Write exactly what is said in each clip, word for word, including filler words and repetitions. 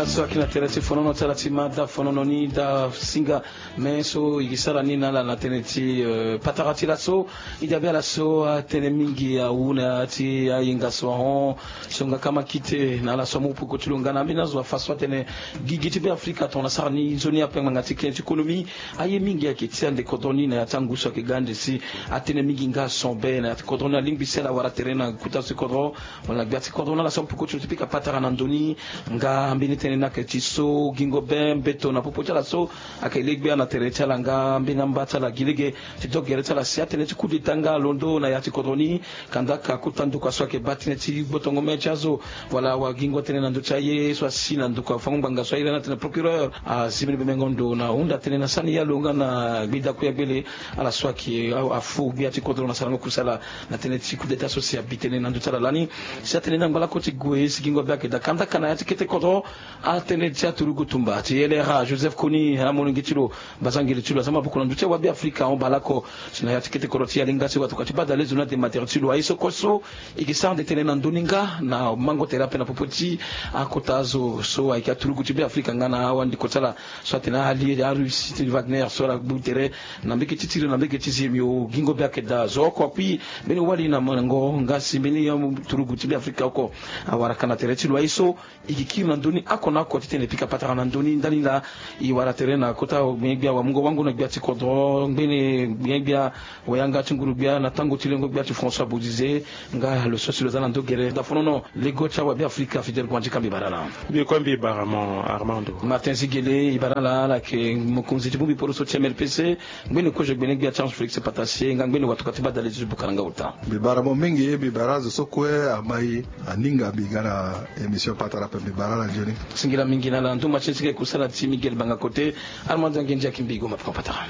So ayeke na tere ti fonono ti ala ti ma da fonono ni da singa. Me so e ke sara ni na ala na tënë ti patara ti laso. E dabe ala so atene mingi awu na ya ti ayenga so ahon. So nga kama kite na ala so amu poko ti lo nga na ambeni azo afa so atene gigi ti Be Afrika tongana sara ni nzoni ape ngbanga ti kene ti konomi. Aye mingi ayeke ti ande kodro ni na ya ti angu so ayeke ga ande si atene mingi nga son be na ya ti kodro ni alingbi si ala wara tere na kota so ti kodro. Wala na gbia ti kodro na ala so amu poko ti lo ti pika patara na ndö ni. Nga mbeni tënë ni ayeke ti so gingo be mbeto na popo ti ala so ayeke legbe na tere ti ala nga mbeni amba ti ala gi lege ti do gere ti ala si atënë ti coup d'état nga alondo na ya ti kodro ni. Kanda ka kota ndokua so ayeke baa tënë ti gbotongo me ti azo. Wala awagingo atene na ndö ti aye so asi na ndokua fango ngbanga so aye lani atene procureur azi mbeni bemengo ndo na hunda tënë na sani ya lo nga na gbida kuya gbele. Ala so ayeke afu gbia ti kodro na sarango kusala na tënë ti coup d'état so si abi tënë na ndö ti ala lani. Si atënë ni angba lako ti gue si gingo be ayeke daa kanda ka na ya ti kete kodro. Atënë ti aturugu tumba ti L R A Joseph Kony amolenge ti lo. Bazangele ti lo aza maboko na ndö ti awabe Afrika ahon baleoko. Si na ya ti kete kodro ti Yalinga si watokua ti badale zo ni ade matere ti lo aye so kue so. E ke sara nde tënë na ndö ni nga na mango tere ape na popo ti akota azo so ayeke aturugu ti Be Afrika nga na awandiko ti ala so atene ali Arussie ti Wagner so ala gbu tere na mbege ti tiri na mbege ti zemi o gingo be ayeke daa zo oko akui mbeni wali na mango nga si mbeni aturugu ti Be Afrika oko awara ka na tere ti lo aye so. E ke kiri na ndö ni oko na oko titene e pika patara na ndö ni ndani laa. E wara tere na kota gbene gbia wamungo wango na gbia ti kodro ngbene gbene gbia wayanga ti nguru gbia na tango ti lengo gbia ti François Bozizé. Nga lo so si lo za na ndö gere dafonono lego ti awabe Afrika Fidèle Guandji ka mbi bara ala. Mbi kue mbi bara mo Armando. Martin Zigele e bara ala ala yeke mokonzi ti bongbi poro so ti M L P C. Ngbene kozo gbene gbia ti Ange Félix Patassié nga ngbene watokua ti badale ti buka na nga ota. Mbi bara mo mingi mbi bara azo so kue amai aninga mbi ga na émission patara ape mbi bara ala nzoni. Singila mingi na ala nduma ti sika e kusala ti Miguel Banga Kote. Armando Angendia Kimbigo mapeka patara.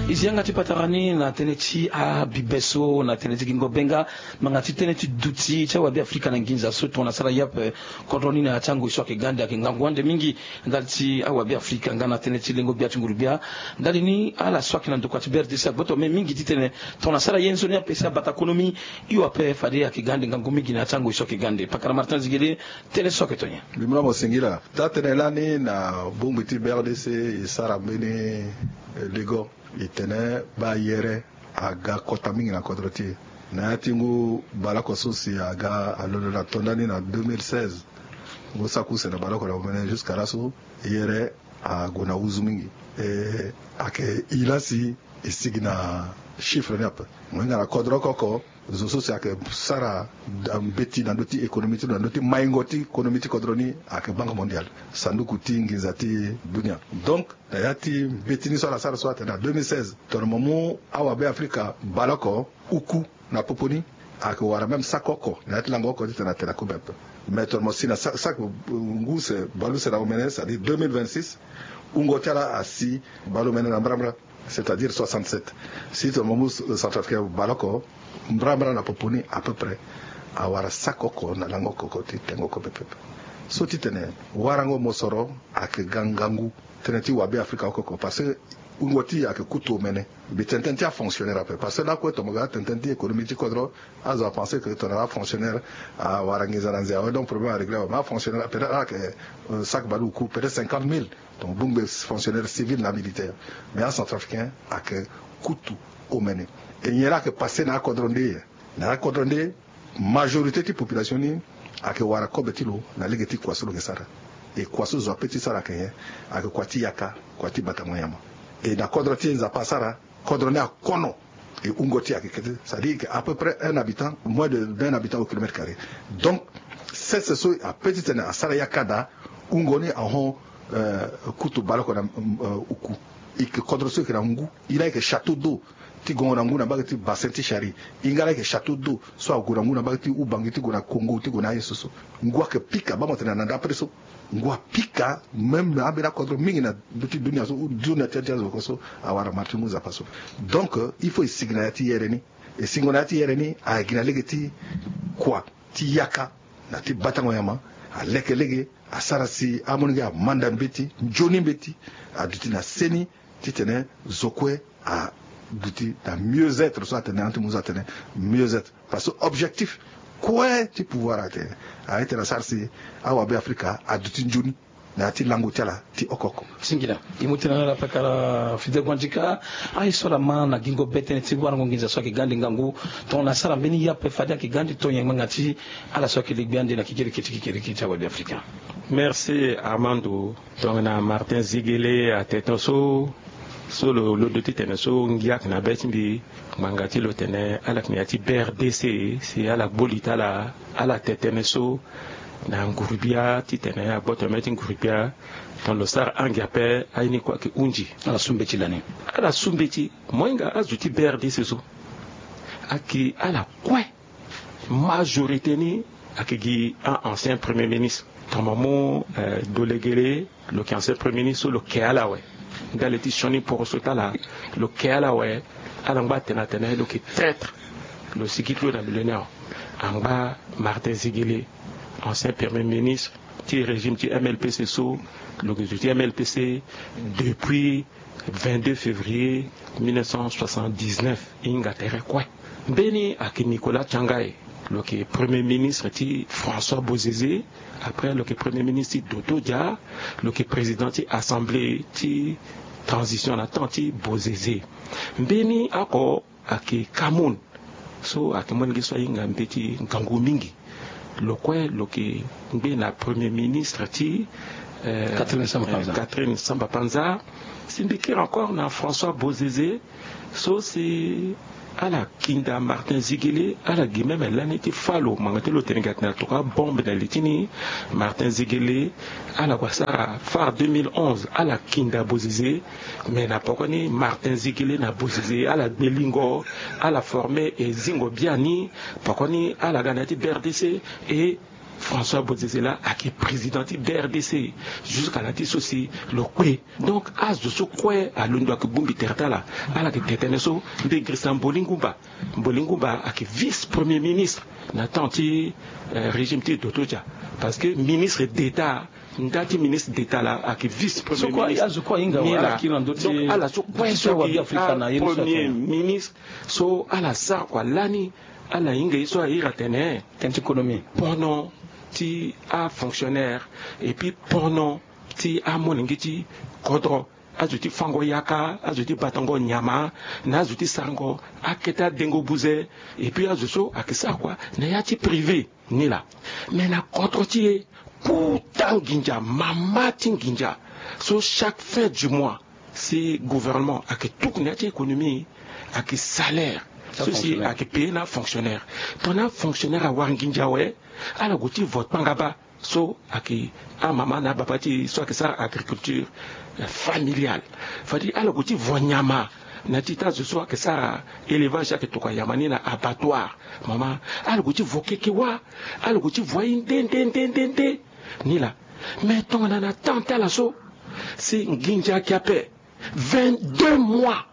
E zi yanga ti patara ni na tënë ti abibe so na tënë ti gingo be nga ngbanga ti tënë ti duti ti awabe Afrika na nginza so tongana sara yape. Kodro ni na ya ti angoi so ayeke ga ande ayeke ngangu ande mingi. Ndali ti awabe Afrika nga na tënë ti lengo gbia ti nguru gbia. Ndali ni ala so ayeke na ndokua ti B R D C agboto me mingi titene tongana sara ye nzoni ape si abata konomi. Hio ape fade ayeke ga ande ngangu mingi na ya ti angoi so ayeke ga ande pakara Martin Zigele. Tënë so ayeke to nyen? Mbi mu na mo singila taa tënë lani na bongbi ti B R D C e sara mbeni lego. E tene baa yere aga kota mingi na kodro ti e. Na ya ti ngu baleoko so si aga alondo na tonda ni na deux mille seize. Ngu saki use na baleoko na omene jusqu'à laso yere ague na uzu mingi. E ayeke e laa si e sigi na chiffre ni ape. Mo hinga na kodro oko oko zo so si ayeke sara mbeti na ndö ti économie ti lo na ndö ti maingo ti économie ti kodro ni ayeke Banque Mondiale, sanduku ti nginza ti dunia. Donc na ya ti mbeti ni so ala sara so atene na deux mille seize tongana mo mu awabe Afrika baleoko uku na popo ni ayeke wara même saki oko na ya ti lango oko titene atene akobe ape. Mais tongana mo si na saki ngu use baleuse na omene c'est-à-dire deux mille vingt-six wungo ti ala asi baleomene na mbrambra. C'est-à-dire soixante-sept. Si tongana mo mu Centrafricain baleoko mbrambra na popo ni à peu près awara saki oko na lango oko ti tengo kobe pepe. So titene warango mosoro ayeke ga ngangu tënë ti wabe Afrika oko oko parce que wungo ti e ayeke kutu omene. Mbi tene tënë ti afonctionnaire ape parce que lakue tongana mo ga tënë tënë ti économie ti kodro azo apense que tongana afonctionnaire awara nginza na nze awe donc problème arégler awe mais afonctionnaire peut-être ala yeke saki baleoku peut-être cinquante mille. Donc bongbi fonctionnaire civil na militaire. Mais acentrafricain ayeke kutu omene. E nyen laa ayeke passe na akodro nde? Na akodro nde majorité ti population ni ayeke wara kobe ti lo na lege ti kua so lo yeke sara. E kua so zo ape ti sara ayeke nyen? Ayeke kua ti yaka, kua ti batango nyama. E na kodro ti e Nzapa asara kodro ni akono. E wungo ti e ayeke kete c'est-à-dire que à peu près un habitant moins de d'un habitant au kilomètre carré. Donc sese so ape titene asara yaka daa wungo ni ahon kutu baleoko na uku. E yeke kodro so e yeke na ngu. E laa e yeke château d'eau ti gongo na ngu na mbage ti bassin ti Chari. E nga laa e yeke château d'eau so ague na ngu na mbage ti Ubangi ti gue na Congo ti gue na aye so so. Ngu ayeke pika baa mo tene na nda apre so. Ngu apika même na ambeni akodro mingi na ndö ti dunia so ou dunia ti ade ti azo oko so awara mara ti ngu Nzapa so. Donc il faut e sigi na ya ti yere ni. E singo na ya ti yere ni ayeke gi na lege ti kua ti yaka na ti batango nyama. Aleke lege asara si amolenge amanda mbeti nzoni mbeti aduti na seni titene zo kue aduti na mieux-être so atene ante muzu atene mieux-être parce que objectif Kue ti pouvoir atene, a ete na sara si awabe afrika aduti nzoni na ya ti lango ti ala ti oko oko. Singila. E mu tena na ala pakara Fidel Guandika. Aye so ala ma na gingo be tënë ti warango nginza so ayeke ga ande ngangu, tongana asara mbeni ye ape fade ayeke ga ande tonyengbanga ti ala so ayeke legbi ande na kekereke ti kekereke ti awabe afrika. Merci Armando. Tongana Martin Zigele atene so, so lo londo titene so ngia ayeke na be ti mbi, ngbanga ti lo tene ala yeke na ya ti B R D C, si ala gbo li ti ala, ala tene tënë so na nguru-gbia titene agboto mê ti nguru-gbia. Tongana lo sara ange ape, aye ni kue ayeke hunzi. Ala su mbeti lani. Ala su mbeti. Mo hinga azo ti B R D C so ayeke ala kue. Majorité ni ayeke gi a-ancien premier ministre. Tongana mo mu, eh, Dolegele, lo yeke ancien premier ministre so lo ke ala awe. Ndali ti sioni poroso ti ala, lo ke ala awe. Ala ngba atene atene lo yeke traître. Lo sigi ti lo na millennium. Angba Martin Zigele, ancien premier ministre ti régime ti M L P C so, lo yeke zo ti M L P C depuis vingt-deux février mille neuf cent soixante-dix-neuf. E hinga tere kue. Mbeni ayeke Nicolas Tiangaye, lo yeke premier ministre ti François Bozizé. Après lo yeke premier ministre ti Dodo Dia, lo yeke président ti assemblée ti transition na temps ti Bozizé. Mbeni oko ayeke Kamoun, so ayeke molenge so ahinga mbeti ngangu mingi. Lo kue lo yeke ngbe na premier ministre ti, eh, Catherine Samba Panza. Catherine Samba Panza. Si mbi kiri encore na François Bozizé, so si ala kinda Martin Zigele, ala gi même lani ti fâ lo, ngbanga ti lo tene gi atene atokua bombe na li ti ni. Martin Zigele, ala gue asara fâ deux mille onze, ala kinda Bozizé. Mais na pokoni Martin Zigele na Bozizé ala gbe lingo, ala forme e zingo biani. Pokoni ala ga na ya ti B R D C, e François Bozizé laa ayeke président ti B R D C jusqu'à na ti so si lo kpe. Donc azo so kue alondo ayeke bongbi tere ti ala. Ala yeke tene tënë so. Mbi girisa Mboli Ngumba. Mboli Ngumba ayeke vice premier ministre na temps ti, eh, régime ti Dodo Dia. Parce que ministre d'état, nda ti ministre d'état laa ayeke vice premier ministre. Azo kue ahinga awe, ala kiri na ndö ti, donc ala so kue so ayeke premier ministre. So ala sara kua lani, ala hinga ye so a iri atene, tënë ti économie, pono ti afonctionnaire, et puis pono ti amolenge ti kodro. Azo ti fango yaka, azo ti batango nyama, na azo ti sarango akete adengo buze. Et puis azo so ayeke sara kua na ya ti privé ni laa. Mais na kodro ti e, kota nginza, mama ti nginza. So chaque fin du mois, si gouvernement ayeke tuku na ya ti économie, ayeke salaire so si ayeke paye na afonctionnaire. Tongana afonctionnaire awara nginza awe, ala gue ti vo kpangaba. So ayeke amama na ababa ti e so ayeke sara agriculture, eh, familiale. Fade ala gue ti vo nyama na ti ta zo so ayeke sara élevage, ayeke tokua nyama ni na abattoir. Mama, ala gue ti vo keke wâ. Ala gue ti vo aye nde nde nde nde nde ni laa. Mais tongana na temps ti ala so, si nginza ayeke ape, vingt-deux mois,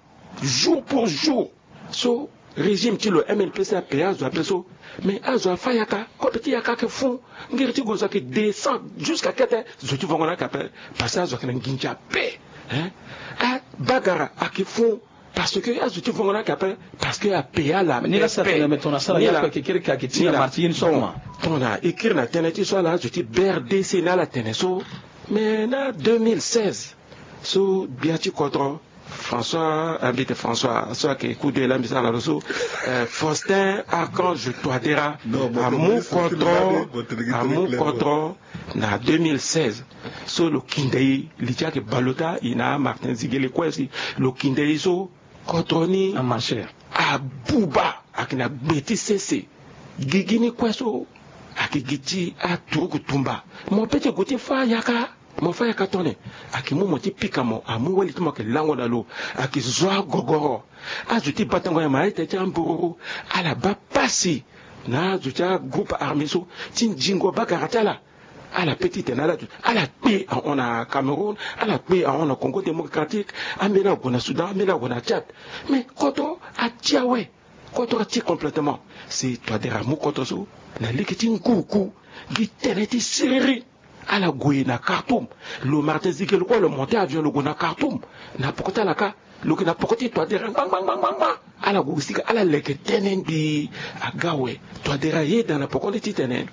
jour pour jour, so régime ti lo M L P C ape azo ape so. Mais azo afâ yaka, kobe ti yaka ayeke fou. Ngiri ti gue zo ayeke descend jusqu'à kete, zo ti vongo na ayeke ape. Parce que azo ayeke na nginza ape, hein. Abagara ayeke fou. Parce que azo ti vongo na ayeke ape. Parce que ape ala ni la sa tene, mais tongana sara ya ape kekereke ayeke ti na marti ye ni so. Bon, tongana e kiri na tënë ti so ala azo ti B R D C ni ala tene so. Mais na deux mille seize, so gbia ti kodro François, ah, mbi tene François so ayeke kude la mbi sara na lo so, eh, Faustin Archange Touadéra, amu kodro, amu kodro na deux mille seize. So lo kinda e, li ti ayeke bale ota, e na Martin Ziguele kue si lo kinda e so kodro ni abuba, ayeke na gbe ti sese. Gigi ni kue so ayeke gi ti aturugu tumba. Mo peut ti gue ti fâ yaka. Mo fâ yaka tongana ni, ayeke mu mo ti pika mo, amu wali ti mo ayeke lango na lo, ayeke zo agogoro. Azo ti batango nyama aye tene ti ambororo, ala baa pasi na azo ti agroupe armé so ti nzingo bagara ti ala. Ala peut ti tene ala, ala kpe ahon na Cameroun, ala kpe ahon na Congo Démocratique, ambeni ague na Soudan, ambeni ague na Tchad. Mais kodro ati awe. Kodro ati complètement. Si Touadéra amu kodro so na lege ti nguruku, gi tënë ti siriri. Ala gue na Khartoum. Lo Martin Ziguele kue lo monté avion lo gue na Khartoum. Na poko ti ala kâ, Lo yeke na poko ti Touadéra ngbangba ngbangba. Ala gue sika ala leke tënë ngbii aga awe. Touadéra ayeda na poko ni titene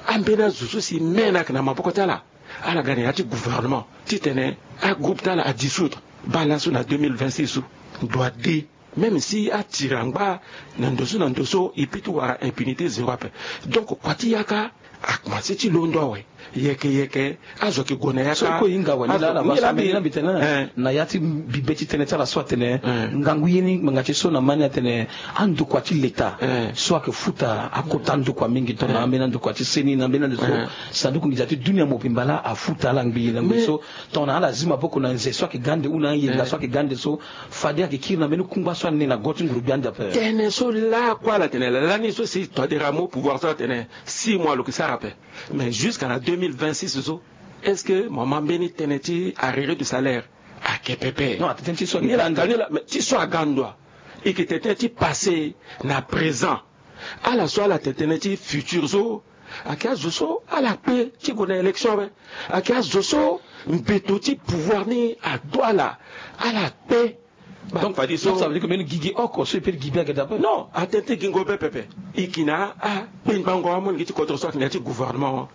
ambeni azo so si me na yeke na maboko ti ala, ala ga na ya ti gouvernement titene agroupe ti ala adissoudre. Baa laso na deux mille vingt-six so, ndo ade. Même si atiri angba na ndo so na ndo so, e peut ti wara impunité zéro ape. Donc kua ti yaka akomanse ti londo awe. Yeke yeke azo ayeke gue na yaka. So e kue e hinga awe ni laa na baa so ambeni na mbi tene na ya ti mbi be ti tënë ti ala so atene ngangu ye ni ngbanga ti so na ma ni atene andokua ti leta so ayeke futa akota ndokua mingi tongana ambeni andokua ti seni na ambeni ande so. Sanduku nginza ti dunia mobimba laa afuta ala ngbii na ngbii so tongana ala zi maboko na nze so ayeke ga ande ou na ayenga so ayeke ga ande so, fade ayeke kiri na mbeni kungba so ane na go ti nguru-gbia ande ape. Tënë so lakue ala tene lani so si Touadéra amu pouvoir so atene six mois lo yeke sara ape. Mais jusqu'à na deux mille vingt-six so, est-ce que mo ma mbeni tënë ti arriéré du salaire? Ayeke pepe. Non, atene ti so ayeke ga ndo. Ti so aga ndo a, e yeke tene tënë ti passé na présent. Ala so ala tene tënë ti futur so, ayeke azo so ala kpe ti gue na élection ape. Ayeke azo so mbeto ti pouvoir ni adu ala, ala kpe. Donc, fadi so, donc ça veut dire que mbeni gigi oko so e peut ti gi be ayeke daa ape. Non, atene ti gingo be pepe. E yeke na akpengbango amolenge ti kodro so ayeke na ya ti gouvernement.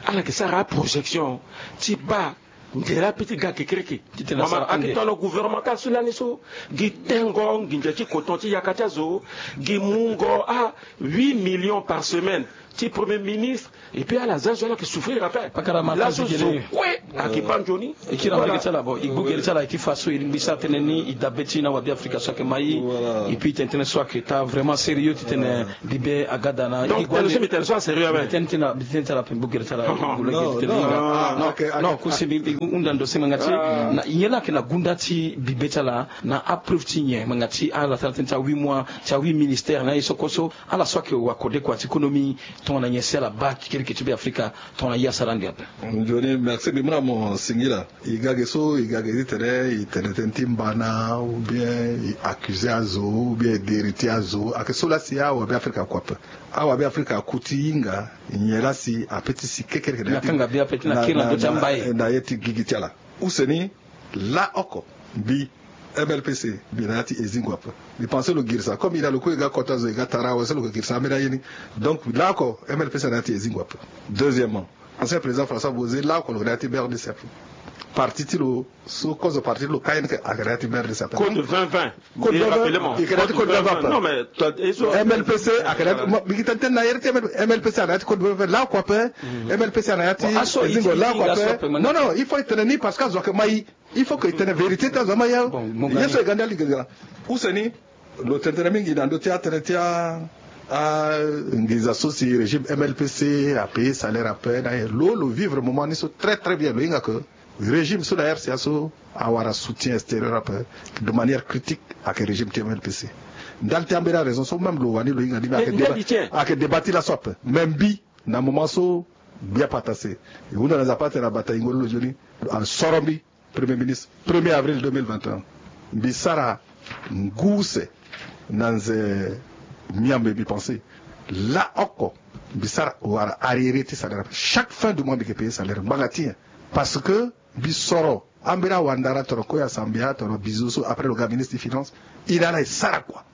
Ala yeke sara aprojection ti baa nzela ape ti ga kekereke. Mama ayeke tongana gouvernement ti ala so lani so, gi tengo nginza ti coton ti yaka ti azo, gi mungo a huit millions par semaine ti premier ministre. Et puis ala za zo ala yeke souffrir ape. Laso zo kue ayeke baa nzoni. E kiri na mbage ti ala, bon, e gbu gere ti ala, e ti fa so e lingbi sara tënë ni, e dabe ti na wabe afrika so ayeke ma e. Et puis tene tënë so ayeke taa vraiment sérieux titene bibe aga daa na. Donc tënë so mbi tene so asérieux ape. Mbi tene ti ala, mbi tene ti ala ape, gbu gere ti ala, e gbu lege titene. Non, non, non, kuse mbi hunda ndo si ngbanga ti na nyen laa ayeke na gunda ti bibe ti ala, na apreuve ti nyen ngbanga ti ala ti ala tënë ti ahuit mois ti ahuit ministère na ye so kue so. Ala so ayeke wa kode kua ti économie, tongana nyen si ala baa kekereke ti be afrika, tongana ye asara ande ape. Nzoni, merci, mbi mu na mo singila. E ga ge so e ga ge titene e tene tënë ti mbana, ou bien e accusé azo, ou bien e deriti azo, ayeke so laa si awabe afrika akua ape. Awabe afrika aku ti hinga nyen laa si ape ti si kekereke na ye ti gigi ti ala. Use ni, laoko mbi M L P C, mbi na ya ti e zingo ape. Mbi pense lo girisa comme e na lo kue e ga kota zo, e ga tara awe so lo yeke girisa ambeni aye ni. Donc laoko M L P C na ya ti e zingo ape. Deuxièmement, ancien président François Bozé, laoko lo yeke na ya ti B R D C ape. Parti ti lo so kozo parti ti lo K N K ayeke na ya ti B R D C ape. Code vingt vingt. Code vingt vingt. E yeke na ya ti code vingt vingt ape. Non mais M L P C ayeke na ya ti, mbi gi tene tënë na ye ti M L P C ayeke na ya ti code vingt vingt laoko ape. M L P C ayeke na ya ti e zingo laoko ape. Non, non, il faut e tene ni parce que azo ayeke ma e. Il faut que e tene vérité ti azo ama ya. Ye so e ga ndia lingere. Use ni, lo tene tënë mingi na ndö ti atënë ti a, a nginza so si régime M L P C apaye salaire ape na ye. Lo lo vivre moment ni so très très bien. Lo hinga que régime so na R C A so awara soutien extérieur ape de manière critique ayeke régime ti M L P C. Ndali ti ambeni araison so même lo wani lo hinga ni, mais ayeke débat ti laso ape. Mais mbi na moment so gbia patase, e hunda na Nzapa atene abata yingo ni lo nzoni, asoro mbi Premier ministre, premier avril deux mille vingt et un. Mbi sara ngu use na nze miambe, mbi pense laoko mbi sara wara arriéré ti salaire. Chaque fin du mois mbi yeke payer salaire ngbanga ti nyen? Parce que mbi soro ambeni awandara, tongana Koya Sambia, tongana Bizo so, après lo ga ministre ti finance. E na ala e sara kua.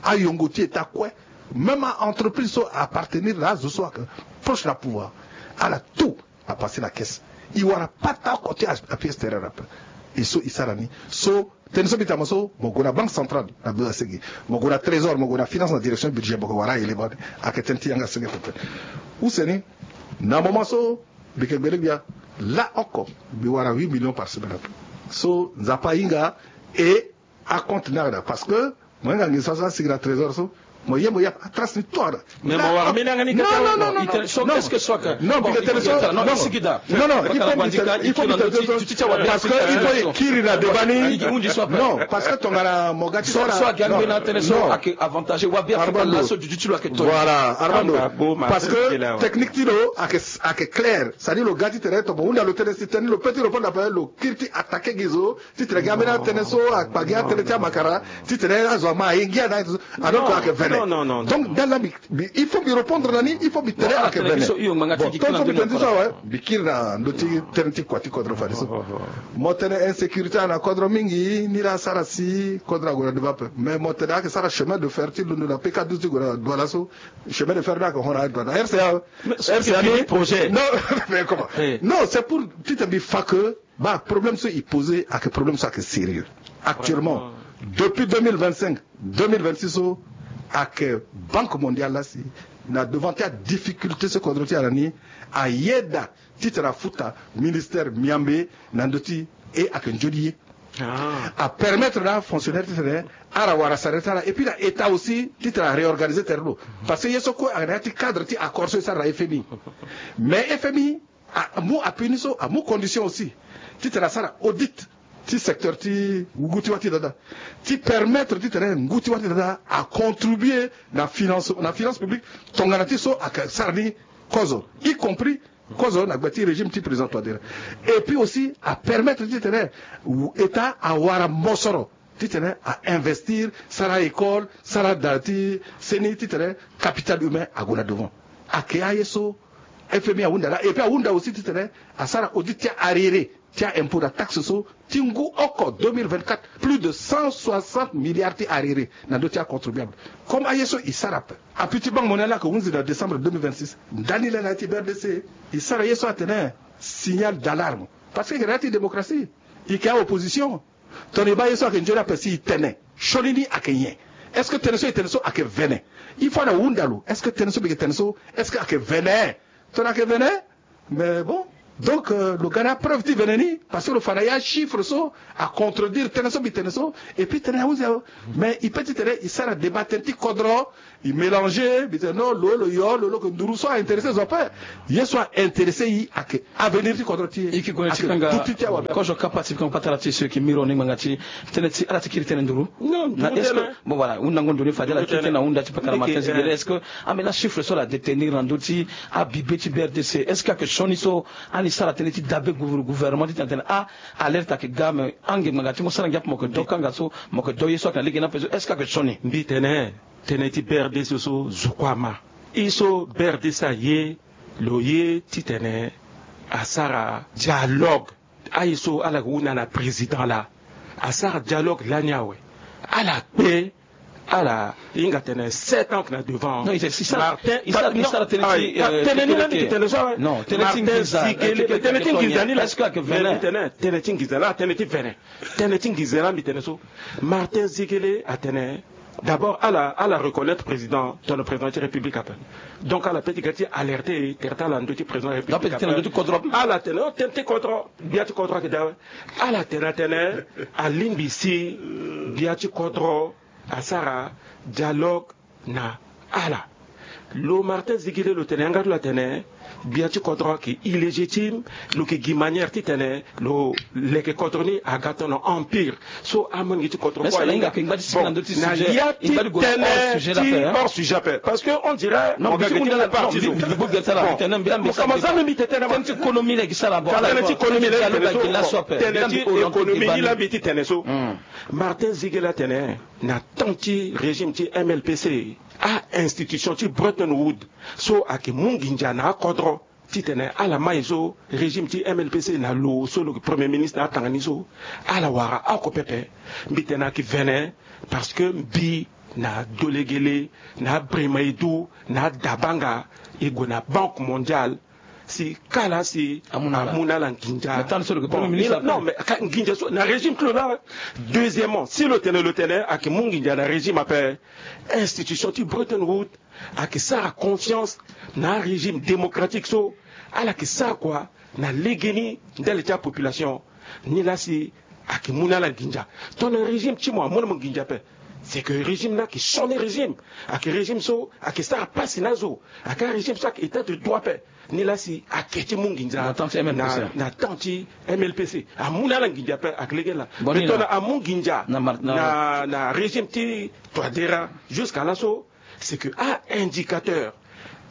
Ayongo ti eta kue. Même a-entreprise so a-appartenir na azo so ayeke proche na pouvoir, ala tout a passer na caisse. E wara pata oko ti appui extérieur ape. E so e sara ni. So tënë so mbi tene mo so, mo gue na Banque centrale na bezo asege, mo gue na Trésor, mo gue na finance na direction budget, mo gue wara a-élément ni. Ayeke tënë ti yanga senge pepe. Use ni, na moment so mbi yeke gbele gbia, laoko mbi wara huit millions par semaine ape. So Nzapa ahinga e acompte ni ayeke daa, parce que mo hinga nginza so asigi na trésor so, mo ye mo ya atrace ni tout ayeke daa. Mais mo wara mbeni yanga ni kete. Non, non, non, non, non, non, non, non, il faut mbi tene so, non, parce que il faut mbi tene so, parce que il faut e kiri na débat ni. Non, parce que tongana mo ga ti so, so aga mbeni atene so ayeke avantage wa bien. Armando, voilà, Armando, parce que technique ti lo ayeke, ayeke clair. C'est-à-dire lo ga ti tene, to mo hunda lo tënë si tënë ni, lo peut ti répondre après, lo kiri ti attaquer gi zo. Titene gi ambeni atënë so akpa gi atënë ti amakara, titene azo ama aye ngia na aye so. Alors que ayeke Non, non, non. Donc, dans la, il faut lui répondre, Nani, il faut lui tenir à que venir. Bon, tant que lui tenir ça, ouais, lui kiri na ndo ti tene ti kua ti kodro fade so. Mo tene insécurité na kodro mingi, ni la sara si kodro ague na devant pe. Mais mo tene ake sara chemin de fer ti londo na P K douze ti gue na Douala so. Chemin de fer ni ake hon na Douala. R C A, R C A ni projet. Non, mais comment? Non, c'est pour ti tene mbi fa que Ba, problème so i poser ake problème so ake sérieux. Actuellement, depuis deux mille vingt-cinq, deux mille vingt-six so, ake Banque Mondiale la si na devant ti adifficulté so kodro ti ala ni, ayeda titene afuta ministère miambe na ndö ti e ake nzoni ye. Apermettre na afonctionnaire titene ala wara salaire ti ala, et puis na État aussi titene aréorganiser tere lo. Parce que ye so kue ayeke na ya ti cadre ti accord so e sara na F M I. Mais F M I amu appui ni so, amu condition aussi titene asara audit ti secteur ti ngu ti wâ ti dada, ti permettre titene ngu ti wâ ti dada acontribuer na finance, na finance publique. Tongana ti so ake sara ni kozo, y compris kozo na gbe ti régime ti président Touadéra. Et puis aussi apermettre titene État awara mosoro titene a investir, sara école, sara da ti seni titene capital humain ague na devant. Ake aye so F M I ahunda laa, et puis ahunda aussi titene asara audit ti arriéré ti a impôt na taxe so ti ngu oko deux mille vingt-quatre, plus de cent soixante milliards ti arriéré na ndö ti acontribuable. Comme aye so i sara ape. Appui ti Banque Mondiale laa ake hunzi na décembre deux mille vingt-six, ndani laa na ya ti B R D C i sara ye so atene signal d'alarme. Parce que i yeke na ya ti démocratie, i yeke aopposition. Tongana i baa ye so ayeke nzoni ape si i tene, sioni ni ayeke nyen? Est-ce que tënë so i tene so ayeke vene? Il faut na hunda lo, est-ce que tënë so mbi yeke tene so, est-ce que ayeke vene? Tongana ayeke vene, mais bon. Donc, euh, lo ga na apreuve ti vene ni, parce que lo fa na ya achiffre so acontredire tënë so mbi tene so. Et puis tënë ahunzi awe. Mais i peut ti tene i sara débat tënë ti kodro, i mélanger, mbi tene non, lo lo yo, lo lo yeke nduru. So aintéressé zo ape. Ye so aintéressé i ayeke avenir ti kodro ti e. I yeke gue na ti kanga duti ti awabe. Kozo kapa ti kanga patara ti e so e yeke miro ni ngbanga ti tënë ti ala ti kiri tënë nduru. Non, na nduru est-ce que tënë. Bon, voilà, hundango ndo ni fade ala kiri tënë na hunda ti patara Martin Ziguélé. Est-ce que ambeni achiffre so ala détenir na ndö ti abibe ti B R D C, est-ce que ayeke sioni so ani sara tënë ti dabe gouver-, gouvernement ti tene tene ah, alerte ayeke ga, mais ange ngbanga ti mo sara ngia ape mo yeke do kanga so, mo yeke do ye so ayeke na lege ni ape so, est-ce que ayeke sioni? Mbi tene tënë ti B R D C so zo kue ama. I so B R D C aye, lo ye titene asara dialogue. Aye so ala hunda na président laa, asara dialogue lani awe. Ala kpe, ala hinga tene sept ans na devant. Non, il sera, il sera, il sera, il sera tene ti, euh, tene ni la mbi tene so awe. Non, tene ti nginza, tene ti nginza ni la. Est-ce que ayeke vene? Tene ti nginza la, tene ti vene. Tënë ti nginza la mbi tene so, Martin Ziguélé atene, d'abord ala, ala reconnaître président, tongana président ti république ape. Donc ala peut ti ga ti alerter tere ti ala na ndö ti président république ape. Ala tene, oh, tënë ti kodro, gbia ti kodro ayeke daa awe. Ala tene atene alingbi si gbia ti kodro asara dialogue na ala. Lo Martin Ziguélé lo tene yanga ti lo atene gbia ti kodro ayeke illégitime, lo yeke gi manière titene lo leke kodro ni aga tongana empire. So amolenge ti kodro kue ahinga. Bon, na ya ti tënë ti hors sujet ape, parce que on dirait mo ga geti mo parti zo. Mo kama za mbi tene ti économie la, tene so tënë ti économie ni la mbi ti tene so. Martin Ziguélé atene na temps ti régime ti M L P C, a-institution ti Bretton Woods so ayeke mu nginza na akodro titene ala mai so régime ti M L P C na lo so lo yeke premier ministre na atanga ni so, ala wara oko pepe. Mbi tene ayeke vene, parce que mbi na Dolegele, na Bremaidou, na Dabanga, e gue na Banque Mondiale, si kala si amu na ala nginza. Non, mais nginza so na régime ti lo la. Deuxièmement, si lo tene, lo tene ayeke mu nginza na régime ape, institution ti Bretton Woods ayeke sara confiance na arégime démocratique so ala yeke sara kua na legeni ndali ti apopulation. Nilaa si ayeke mu na ala nginza. Tongana régime ti mo amu na mo nginza ape, c'est que régime ni ayeke sioni régime, ayeke régime so ayeke sara pasi na azo, ayeke arégime so ayeke état de droit ape. Nilaa si ayeke ti mu nginza na temps ti M L P C, amu na ala nginza ape, ayeke lege laa. Mais tongana amu nginza na régime ti Touadéra jusqu'à laso, c'est que a-indicateur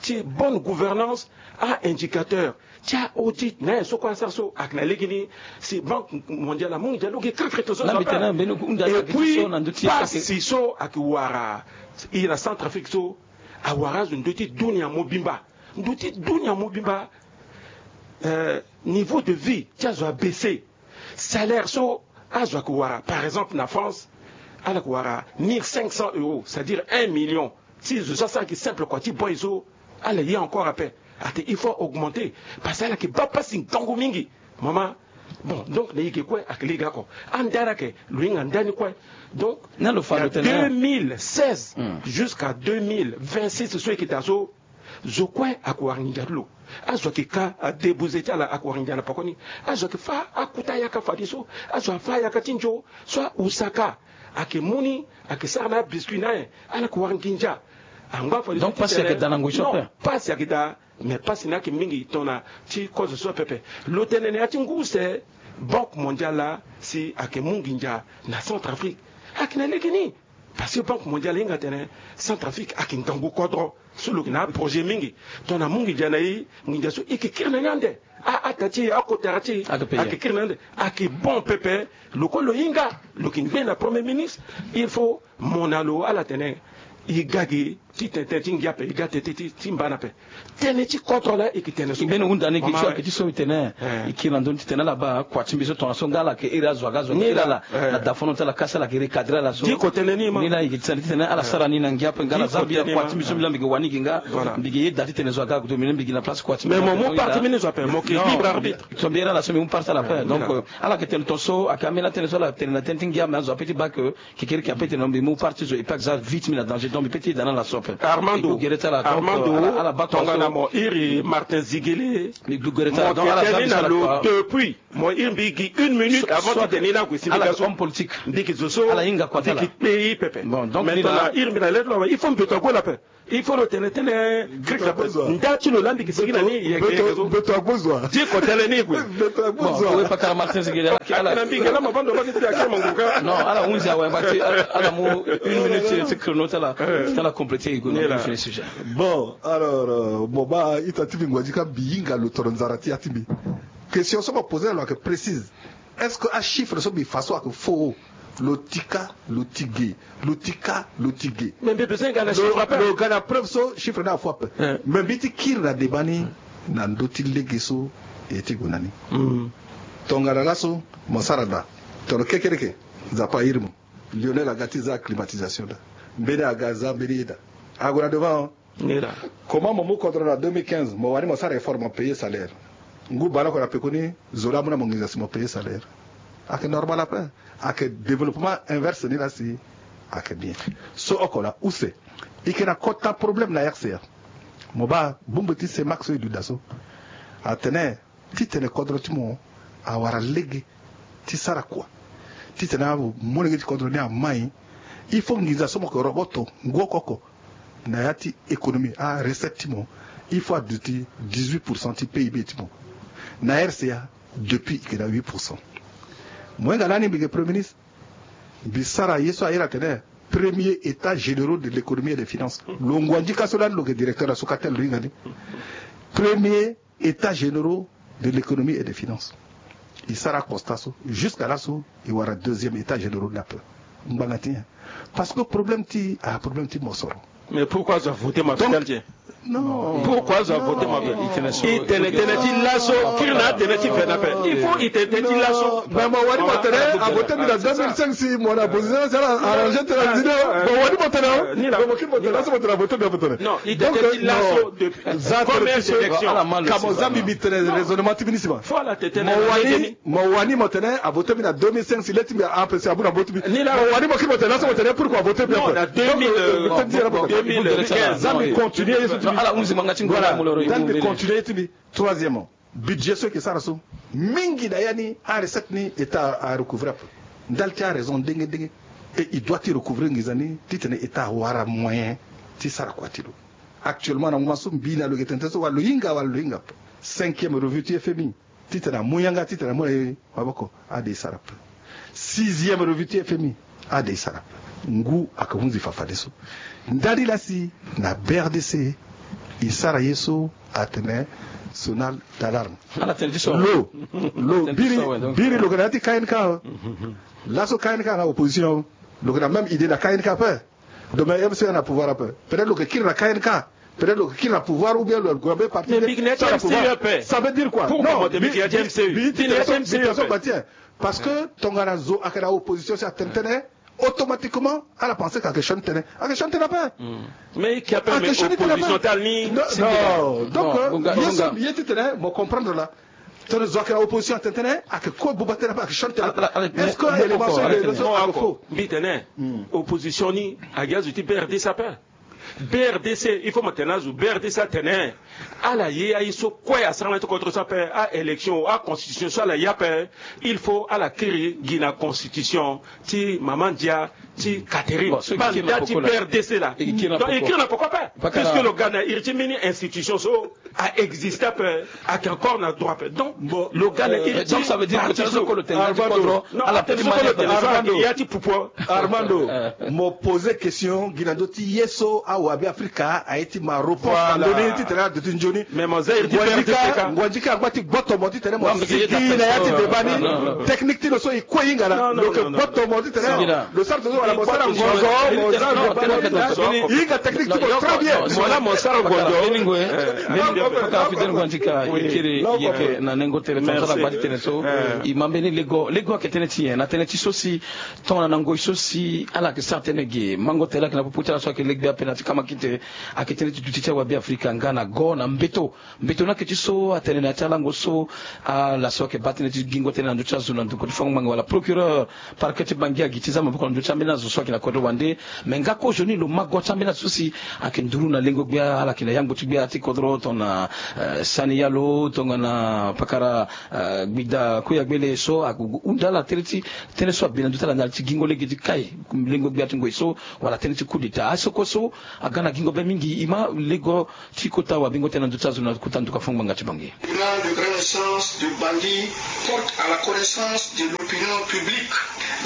ti bonne gouvernance, a indicateur ti a audit na ye so kue asara so ayeke na lege ni. Si Banque Mondiale amu nginza lo gi cricri to so. Et puis pasi so ayeke wara e na Centrafrique so, awara azo ndö ti dunia mobimba. Ndö ti dunia mobimba. Euh, niveau de vie ti azo abaisse. Salaire so azo ayeke wara, par exemple na France, ala yeke wara mille cinq cents euros, c'est-à-dire un million. Ti zo so asara gi simple kua ti boy so, ala ye encore ape. Ate il faut augmenter, parce que ala yeke baa pasi ngangu mingi. Mama. Bon, donc na e ge kue ayeke lege oko. Andara ayeke lo hinga ndani kue. Donc na deux mille seize jusqu'à deux mille vingt-six so e yeke daa so, zo kue ayeke wara nginza ti lo. Azo ayeke ka adébouze ti ala ayeke wara nginza na pekoni. Azo ayeke fâ akota yaka fadeso. Azo afâ yaka ti nzo so ahusaka. Ayeke mu ni, ayeke sara na abiscuit na aye. Ala yeke wara nginza. Angba fadeso. Donc pasi ayeke daa na ngoi so ape. Pasi ayeke daa. Mais pasi ni ayeke mingi tongana ti kozo so pepe. Lo tene na ya ti ngu use, Banque Mondiale laa si ayeke mu nginza na Centrafrique. Ayeke na lege ni. Parce que Banque Mondiale ahinga atene Centrafrique ayeke ngangu kodro so lo yeke na aprojet mingi. Tongana amu nginza na e, nginza so e yeke kiri na ni ande. A, ata ti e, akotara ti e ayeke kiri na ni ande. Ayeke bon pepe. Lo kue lo hinga, lo yeke ngbe na Premier Ministre. Il faut mo na lo ala tene e ga gi titene tënë ti ngia ape, e ga tënë ti, ti mbana ape. Tënë ti kodro laa e yeke tene so. Mbeni hunda ni gi ti so ayeke ti so e tene e kiri na ndö ni titene ala baa kua ti mbi so tongana so nga ala yeke iri azo aga azo aga iri ala na da fondon ti ala kasi ala yeke recadrer ala so. Diko tene ni ma. Ni laa e yeke titene titene ala sara ni na ngia ape nga ala za mbi kua ti mbi so mbi laa mbi yeke wani gi nga. Mbi yeke yeda titene zo aga ague domine mbi yeke na place kua ti mbi. Mais mo mu parti mbi ni zo ape, mo yeke libre arbitre. So mbi iri ala so mbi mu parti ala ape. Donc ala yeke tene ton so ayeke ambeni atënë so ala tene na tënë ti ngia me azo ape ti baa ke Kekereke ape tene mbi mu parti zo e pe aza vie ti mbi na danger, donc mbi pe ti eda na ala so ape. Armando, Armando, tongana mo iri Martin Zigele, mo yeke tene ni na lo depuis, mo iri mbi gi une minute avant ti tene ni na gue si mbi ga so. Homme politique. Mbi gi zo so, ala hinga kua ti ala. Mbi gi kpe pepe. Bon, donc maintenant na iri mbi na lettre lo awe, il faut mbeto ague lo ape. Il faut lo tene tënë. Nda ti lo laa mbi gi sigi na ni yeke yeke zo. Mbeto agbu zo wa? Ti ko tënë ni gue. Mbeto agbu zo wa? Bon, we pakara Martin Zigele, ala kiri na mbi gi laa mo baa ndo baa gi ti akiri mo ngu ka. Non, ala hunzi awe, baa ti ala mu une minute ti chrono ti ala ti ala compléter e gue na fini sujet. Bon, alors, euh, mo baa ita ti mbi ngua ti ka mbi hinga lo toro nzara ti ya ti mbi. Question so mo poser na lo ayeke précise. Est-ce que achiffre so mbi fa so ayeke faux? Lo ti ka, lo ti ge, lo ti ka, lo ti ge. Mais mbi besoin ga na chiffre ape. Lo ga na preuve so chiffre ni afaux ape. Mais mbi ti kiri na débat ni na ndö ti lege so e ti gue na ni. Tongana laso mo sara daa, tongana kekereke, Nzapa airi mo. Lionel aga ti za climatisation daa. Mbeni aga aza mbeni ye daa. Ague na devant. Ni laa. Comment mo mu kodro na deux mille quinze, mo wani mo sara effort mo payer salaire? Ngu baleoko na pekoni, zo laa amu na mo nginza si mo payer salaire. Ayeke normal ape. Ayeke développement inverse ni laa si ayeke bien. So oko laa use. E yeke na kota problème na R C A. Mo baa bongbi ti Cemac so e duti daa so. Atene titene kodro ti mo awara lege ti sara kua, titene amolenge ti kodro ni amai, il faut nginza so mo yeke roboto ngu oko oko na ya ti économie, arecette ti mo, il faut aduti dix-huit pour cent ti P I B ti mo. Na R C A, depuis e yeke na huit pour cent. Mo hinga lani mbi yeke Premier ministre, mbi sara ye so a iri atene premier état généraux de l'économie et des finances. Lo ngua ndika so lani lo yeke directeur na Socatel, lo hinga ni. Premier état généraux de l'économie et des finances. E sara constat so, jusqu'à laso e wara deuxième état généraux ni ape. Ngbanga ti nyen? Parce que problème ti, ah, problème ti mosoro. Mais pourquoi azo avote ma? Donc, non. Pourquoi azo avote ma? E tene tënë ti laso, kiri na atënë ti ve ni ape. Il faut e tene tënë ti laso. Mais mo wani mo tene avote mbi na deux mille cinq si mo na opposition si ala arranger tene na dide. Mo wani mo tene, mo kiri mo tene laso mo tene avote mbi avote. Non, e tene tënë ti laso depuis. Za tënë ti so, ka mo za mbi mbi tene raisonnement ti mbi ni si ma. Mo wani, mo wani mo tene avote mbi na deux mille cinq si le ti mbi a empêcher abu na mbo ti mbi. Mo wani mo kiri mo tene laso mo tene pourquoi avote mbi ape? Na deux mille, euh, deux mille quinze. Za mbi continuer ye so ti mbi. Voilà. Za mbi continuer ye ti mbi. Troisièmement, budget so e yeke sara so, mingi na ya ni arecette ni état a recouvrer ape. Ndali ti araison ndenge ndenge. Et il doit ti recouvrer nginza ni titene état awara moyen ti sara kua ti lo. Actuellement na moment so mbi na lo yeke tene tënë so wala lo hinga wala lo hinga ape. Cinquième revue ti F M I, titene amu yanga titene amu na e maboko, ade e sara ape. Sixième revue ti F M I, ade e sara ape. Ngu ayeke hunzi fafadeso. Ndali laa si na B R D C E sara ye so atene sonal d'alarme. Lo lo biri biri lo yeke na ya ti K N K. Laso K N K na opposition, lo yeke na même idée na K N K ape. Donc mais M C E na pouvoir ape, peut-être lo yeke kiri na K N K, peut-être lo yeke kiri na pouvoir ou bien lo yeke gue na be parti. Mais mbi yeke na ya ti M C E ape. Ça veut dire quoi? Non, mbi yeke na ya ti M C E ape. Parce que tongana zo ayeke na opposition si atene tënë, automatiquement ala pense que ayeke sioni tënë. Ayeke sioni tënë ape. Mais e ke ape, mais opposition ti ala ni. Non, donc ye so ye ti tene mo comprendre la. Tene zo ayeke na opposition atene tënë, ayeke kue buba tënë ape, ayeke sioni tënë ape. Est-ce que élément so ayeke faux? Mbi tene opposition ni ayeke azo ti B R D C ape. B R D C, il faut mo tene na azo, B R D C atene ala ye aye so kue asara na ya ti kodro so ape, a-élection, a-constitution so ala ye ape. Il faut ala kiri gi na constitution ti mama ndia ti Catherine. Banda ti B R D C la. Donc e kiri na poko ape. Puisque lo ga na iri ti mbeni institution so a existe ape, ayeke encore na droit ape. Donc lo ga na iri ti parti so. Armando, Armando, mo poser question gi na ndö ti ye so awabe Afrika aye ti ma reponse na ndö ni titene aduti nzoni. Mais mo za iri ti perte keka. Ngua nzika angba ti gboto mo titene mo sigi na ya ti débat ni. Technique ti lo so e kue e hinga na lo yeke gboto mo titene lo sara tongaso wala mo sara ngonzo, mo za débat ni. E hinga technique ti mo très bien. Mo na mo sara ngonzo. Fidèle Ngua Nzika, e kiri e yeke na nengo tënë, tongana so ala gba ti tene so. E ma mbeni lego, lego ayeke tënë ti nyen? Na tënë ti so si tongana na ngoi so si ala yeke sara tënë ge, mango tere ayeke na popo ti ala so ayeke legbe ape na ya ti kamakite. Ayeke tënë ti duti ti awabe Afrika nga na go na mbeto. Mbeto ni ayeke ti so atene na ya ti alango so ala so ayeke baa tënë ti gingo tënë na ndö ti azo na ndokua ti fango ngbanga wala procureur parquet ti Bangui agi ti za maboko na ndö ti ambeni azo so ayeke na kodro wande. Me nga kozoni lo ma go ti ambeni azo so si ayeke nduru na lengo gbia, ala yeke na yangbo ti gbia ti kodro tongana, eh, Sani Yalo, tongana pakara, eh, Gbida Koyagbele so ayeke hunda ala tënë ti tënë so abe na ndö ti ala na ala ti gingo lege ti kai lengo gbia ti ngoi so, wala tënë ti coup d'état. Aye so kue so aga na gingo be mingi, e ma lego ti kota wabengo tënë na ndö ti azo na kota nduka fango ngbanga ti Bangui. Tribunal de grande instance de Bangui porte à la connaissance de l'opinion publique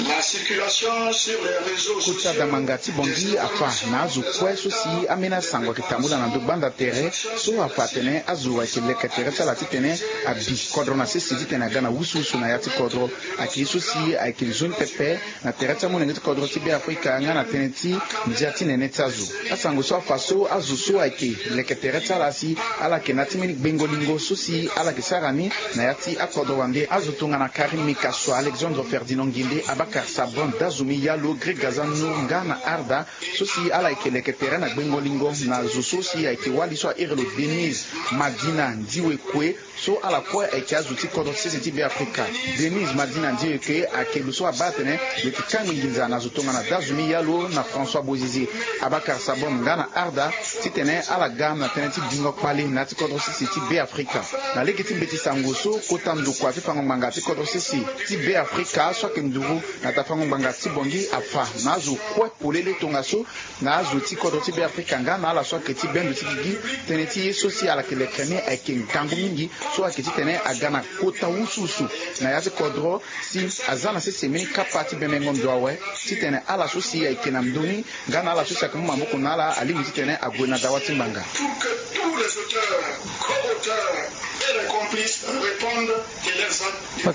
la circulation sur les réseaux sociaux. Kota dangbanga ti Bangui afa na azo kue so si ambeni asango ayeke tambula na ndö gbanda tere so afa atene azo ayeke leke tere ti ala titene abi kodro na sese titene aga na wusuwusu na ya ti kodro. Ayeke ye so si ayeke nzoni pepe na tere ti amolenge ti kodro ti Be Afrika nga na tënë ti ndia ti nene ti azo. Asango so afa so azo so ayeke leke tere ti ala si ala yeke na ya ti mbeni gbengo lingo so si ala yeke sara ni na ya ti akodro wande. Azo tongana Karim Meïssa Soe, Alexandre Ferdinand Nguindé, Abakar Sabon, Dazumi Yalo, Greg Gazan Nour nga na Arda so si ala yeke leke tere na gbengo lingo na zo so si ayeke wali so a iri lo Denise Madina Ndiwekwe. So ala kue ayeke azo ti kodro ti sese ti Be Afrika. Denise Madina Ndiwekwe ayeke lo so abaa atene lo yeke kangbi nginza na zo tongana Dazumi Yalo na François Bozizé, Abakar Sabon nga na Arda titene ala ga na tënë ti bingo kpale na ya ti kodro ti sese ti Be Afrika. Na lege ti mbeti sango so kota ndokua ti fango ngbanga ti kodro ti sese ti Be Afrika so ayeke nduru na ta fango ngbanga ti Bangui afa na azo kue polele tongaso na azo ti kodro ti Be Afrika nga na ala so ayeke ti bendo ti gigi tënë ti ye so si ala yeke leke ni ayeke ngangu mingi so ayeke titene aga na kota wusuwusu na ya ti kodro si aza na sese mbeni kapa ti bemengo ndo awe titene ala so si ayeke na ndö ni nga na ala so si ayeke mu maboko na ala alingbi titene ague na dawa ti ngbanga. Pour que tous les auteurs, co-auteurs et les complices répondent de leurs actes devant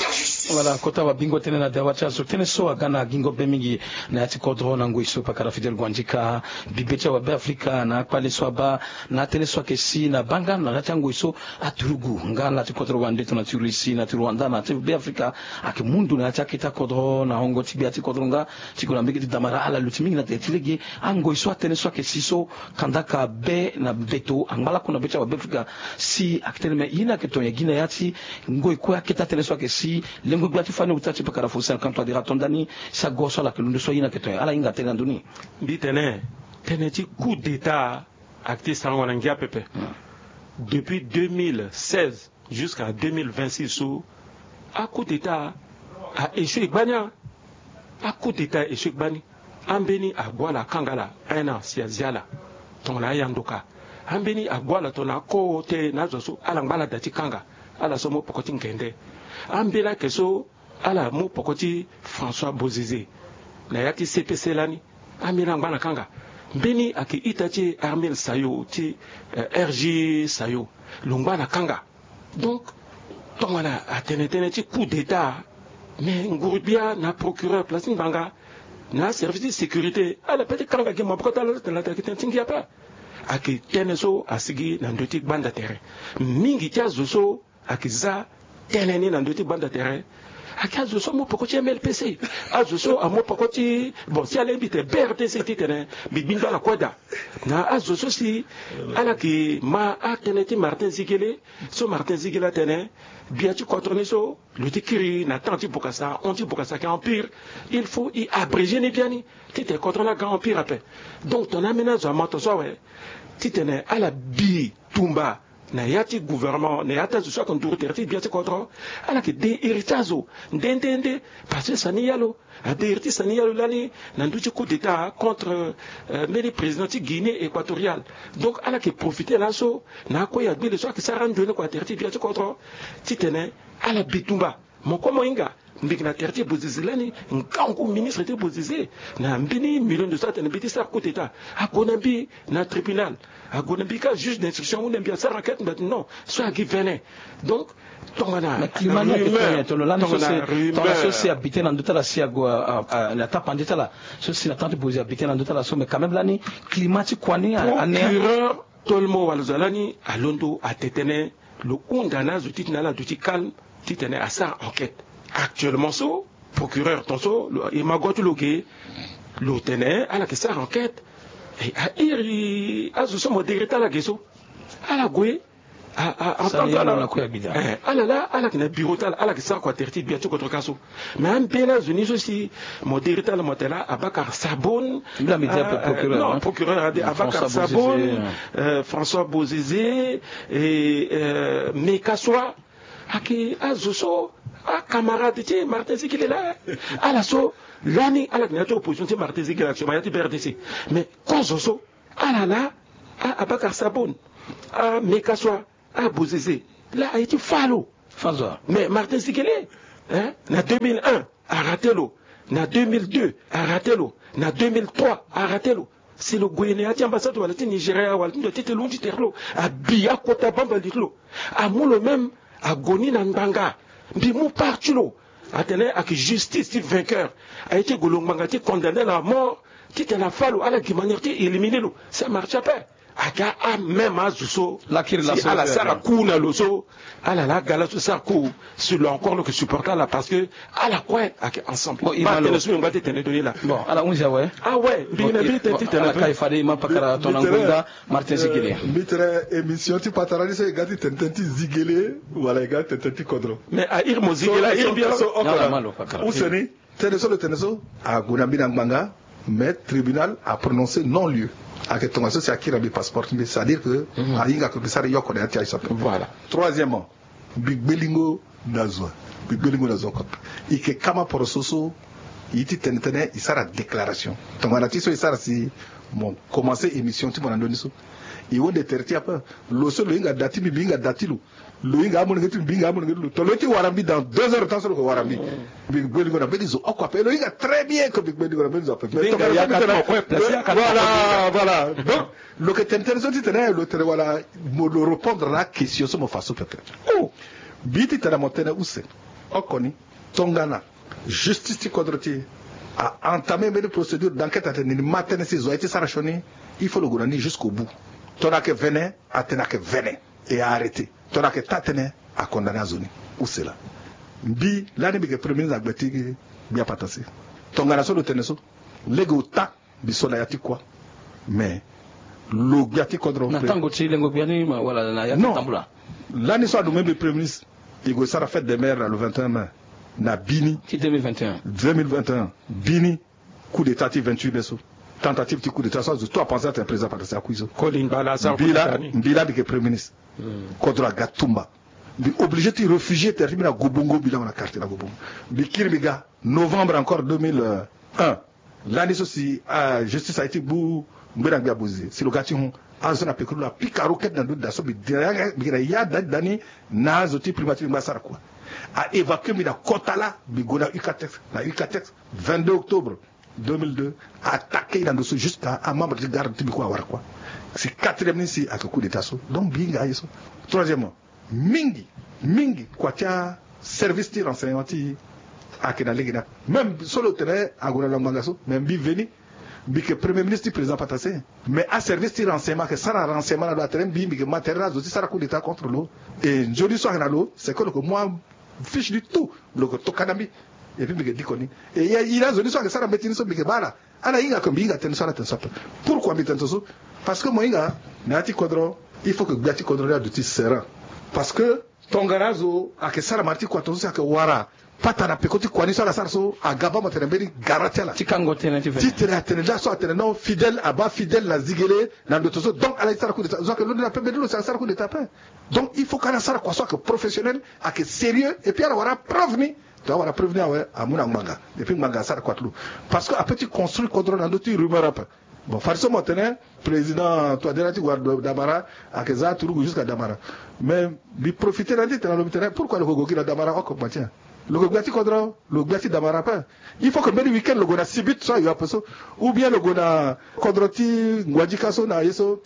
la justice. Voilà, kota wabingo tënë na dawa ti azo. Tënë so aga na gingo be mingi na ya ti kodro na ngoi so pakara Fidèle Guandika, bibe ti awabe Afrika na akpale so abaa na atënë so ayeke si na baa nga na ya ti angoi so aturugu nga na ya ti kodro wande tongana ti Russie na ti Rwanda na ya ti Be Afrika ayeke mu ndo na ya ti akete akodro na hongo ti gbia ti kodro nga ti gue na mbege ti damara ala luti mingi na tere ti lege. Angoi so atënë so ayeke si so kandaka be na mbeto angba lakue na be ti awabe Afrika si ayeke tene me ye ni ayeke tongana gi na ya ti ngoi kue akete atënë so ayeke si lengo gbia ti fani ota ti pakara Faustin Archange Touadéra ato ndani si ago so ala yeke londo so ye ni ayeke tongana ala hinga tënë na ndö ni. Mbi tene tënë ti coup d'état ayeke ti sarango na ngia pepe. Depuis deux mille seize jusqu'à deux mille vingt-six so a coup d'état a échoué gbani. A coup d'état a échoué gbani. Ambeni ague ala akanga ala un an si azia ala tongana ayandoka. Ambeni ague ala tongana ako te na azo so ala ngba ala da ti kanga ala so mu poko ti ngende. Ambeni ayeke so ala mu poko ti François Bozizé na ya ti C P C lani. Ambeni angba na kanga. Mbeni ayeke ita ti Armel Sayo ti, eh, R G Sayo. Lo ngba na kanga. Donc tongana atene tënë ti coup d'état, mais nguru-gbia na procureur place ti ngbanga na aservice ti sécurité ala pe ti kanga gi maboko ti ala ti tene la tene ayeke tënë ti ngia ape. Ayeke tënë so asigi na ndö ti gbanda tere. Mingi ti azo so ayeke za tënë ni na ndö ti gbanda tere. Ayeke azo so amu peko ti M L P C, azo so amu peko ti, bon, si alingbi tene B R T C titene mbi gbi ndo ala kue daa. Na azo so si ala yeke ma atënë ti Martin Zigele, so Martin Zigele atene gbia ti kodro ni so lo ti kiri na temps ti Bokassa, hon ti Bokassa ayeke empire. Il faut e abréger ni biani titene kodro ni aga empire ape. Donc tongana ambeni azo ama tongaso awe titene ala bi tumba na ya ti gouvernement, na ya ti azo so ayeke nduru tere ti gbia ti kodro, ala yeke de iri ti azo nde nde nde. Parce que sani ya lo ade iri ti sani ya lo lani na ndö ti coup d'état contre, euh, mbeni président ti Guinée Équatoriale. Donc ala yeke profiter laso na akue ya gbele so ayeke sara ndo ni kua tere ti gbia ti kodro titene ala bi tumba. Mo kue mo hinga, mbi yeke na tere ti Bozizé lani, ngangu ministre ti Bozizé na mbeni million de so atene mbi ti sara coup d'état. Ague na mbi na tribunal, ague na mbi ka juge d'instruction, ahunda mbi asara enquête, mbi atene non, so agi vene. Donc tongana na climat ni ayeke tongana tongana so si abite na ndö ti ala si ague na tapande ti ala so si na temps ti Bozizé abite na ndö ti ala so, mais quand même lani climat ti kua ni ane. Procureur Tolmo wala zo lani alondo atene tënë lo hunda na azo titene ala duti calme titene asara enquête. Actuellement so procureur tongaso e ma go ti lo ge, lo tene ala yeke sara enquête. E a iri azo so mo dere ti ala ge so, ala gue a a en tant que ala, eh, ala laa ala yeke na bureau ti ala, ala yeke sara kua tere ti gbia ti kodro ka so. Mais ambeni azo ni so si mo dere ti ala mo tene laa Abakar Sabon. Mbi la mbi di ape procureur, non, procureur ade Abakar Sabon, François Bozizé, eh, Mekaswa. Ayeke azo so acamarade ti Martin Zigele laa. Ala so lani ala yeke na ya ti opposition ti Martin Zigele actuellement, ya ti B R D C. Mais kozo so ala laa, a Abakar Sabon, a Mekaswa, a Bozizé, laa aye ti fa lo. Mais Martin Zigele, hein, na deux mille un arate lo, na deux mille deux arate lo, na deux mille trois arate lo. Si lo gue na ya ti ambassade wala ti Nigeria wala ti ndo titene lo hon ti tere ti lo, abi akota bamba li ti lo, amu lo même ague ni na ngbanga. Mbi mu part ti lo atene ayeke justice ti vainqueur. Aye ti gue lo ngbanga ti condamner lo à mort titene afa lo, ala gi manière ti éliminer lo. Ça marche ape. Aga a même azo so si ala sara coup na lo so, ala laa aga laso sara coup, si lo encore lo yeke supporter ala parce que ala kue ayeke ensemble. Bon, ma tene so mbi ngba ti tene doni laa. Bon, ala hunzi awe. Awe, mbi na mbi ti tene ti tene ala kai fade e ma pakara tongana ngonda Martin Zigele. Mbi tene émission ti patara ni so e ga ti tene tënë ti Zigele wala e ga ti tene tënë ti kodro. Mais a iri mo Zigele a iri mbi so oko na use ni. Tënë so lo tene so ague na mbi na ngbanga, mais tribunal a prononcer non lieu. Ayeke tongaso si akiri na mbi passeport ti mbi, c'est à dire que ahinga que mbi sara yoko na ya ti aye so ape. Voilà. Troisièmement, mbi gbelingo na zo, mbi gbelingo na zo oko ape. E yeke kama poroso so e ye ti tene tënë e sara déclaration. Tongana ti so e sara si mo commencer émission ti mo na ndö ni so, e honde tere ti e ape. Lo so lo hinga da ti mbi, mbi hinga da ti lo. Lo hinga amolenge ti mbi, mbi hinga amolenge ti lo. Tongana lo ye ti wara mbi dans deux heures de temps so lo yeke wara mbi. Mbi gbelingo na mbeni zo oko ape. Lo hinga très bien que mbi gbelingo na mbeni zo ape. Voilà, voilà. Donc lo yeke tene tënë so titene lo tene wala mo lo répondre na question so mo fa so pepe. Oh, mbi titene mo tene use oko ni. Tongana justice ti kodro ti e a entamer mbeni procédure d'enquête atene ni ma tënë si zo aye ti sara sioni, il faut lo gue na ni jusqu'au bout. Tongana ayeke vene, atene ayeke vene. E a arrêter. Tongana ayeke taa tënë, a condamner azo ni. Use laa. Mbi lani mbi yeke premier ministre na gbe ti gbia patara si. Tongana so lo tene so, lege ota mbi so na ya ti kuâ. Mais lo gbia ti kodro na tango ti lengo gbia ni ma wala na ya ti tambula. Lani so anomme mbi premier ministre, e gue sara fête des mères na le vingt et un mai na bini ti deux mille vingt et un. Deux mille vingt et un bini. Coup d'état ti vingt-huit mai so, tentative ti coup d'état so, azo tout apenser atene président Patrice akui so. Mbi laa mbi yeke premier ministre. Kodro aga tumba. Mbi obligé ti réfugier tere ti mbi na Gobongo, mbi lango na quartier na Gobongo. Mbi kiri mbi ga novembre encore deux mille un. Lani so si justice aye ti gbu ngbena ngbia Bozizé, si lo ga ti hon, azo so na pekuru lo apika roquette na ndö ti da so, mbi yeke na ya da ti da ni na azo ti primature, mbi ngba sara kua. A évacuer mbi na kota laa, mbi gue na Ucatex, na Ucatex vingt-deux octobre. deux mille deux, attaqué na ndo so jusqu'à amembre ti garde ti mbi kue awara kua. Si quatrième ni si ayeke coup d'état so, donc mbi hinga aye so. Troisièmement, mingi mingi kua ti aservice ti renseignement ti e ayeke na lege ni ape. Même so lo tene ague na lo ngbanga so, mais mbi veni, mbi yeke premier ministre ti président Patassé. Mais aservice ti renseignement ayeke sara renseignement na lo atene mbi mbi yeke ma tere na azo ti sara coup d'état contre lo. E nzoni so ayeke na lo c'est que lo yeke mu afiche ni tout, lo yeke toka na mbi. Et puis mbi yeke diko ni. E ya iri azo ni so ayeke sara mbeti ni so mbi yeke baa ala. Ala hinga ke mbi hinga tënë so ala tene so ape. Pourquoi mbi tene so? Parce que mo hinga na ya ti kodro, il faut que gbia ti kodro ni aduti serein. Parce que tongana azo ayeke sara mara ti kua tongaso si ayeke wara pata na peko ti kua ni so ala sara so, aga baa mo tene mbeni gara ti ala ti kango tënë ti fe ti tene atene nda so atene non, Fidèle abaa Fidèle na zigele na ndo tongaso, donc ala ye ti sara coup d'état. Zo ayeke londo na pembe ni lo si ala sara coup d'état ape. Donc il faut que ala sara kua so ayeke professionnel, ayeke sérieux, et puis ala wara preuve ni. Tongana awara preuve ni awe, amu na ngbanga, et puis ngbanga asara kua ti lo. Parce que ape ti construire kodro na ndö ti rumeur ape. Bon, fadeso mo tene président touadéra ti wara Damara, ayeke za aturugu jusqu'à Damara. Mais mbi profiter na ni ti tene na lo, mbi tene pourquoi lo yeke gue gi na Damara oko? Lo yeke gbia ti kodro, lo yeke gbia ti Damara ape. Il faut que mbeni week-end lo gue na Sibut so ayo ape so, ou bien lo gue na kodro ti Nguadika so na ye so.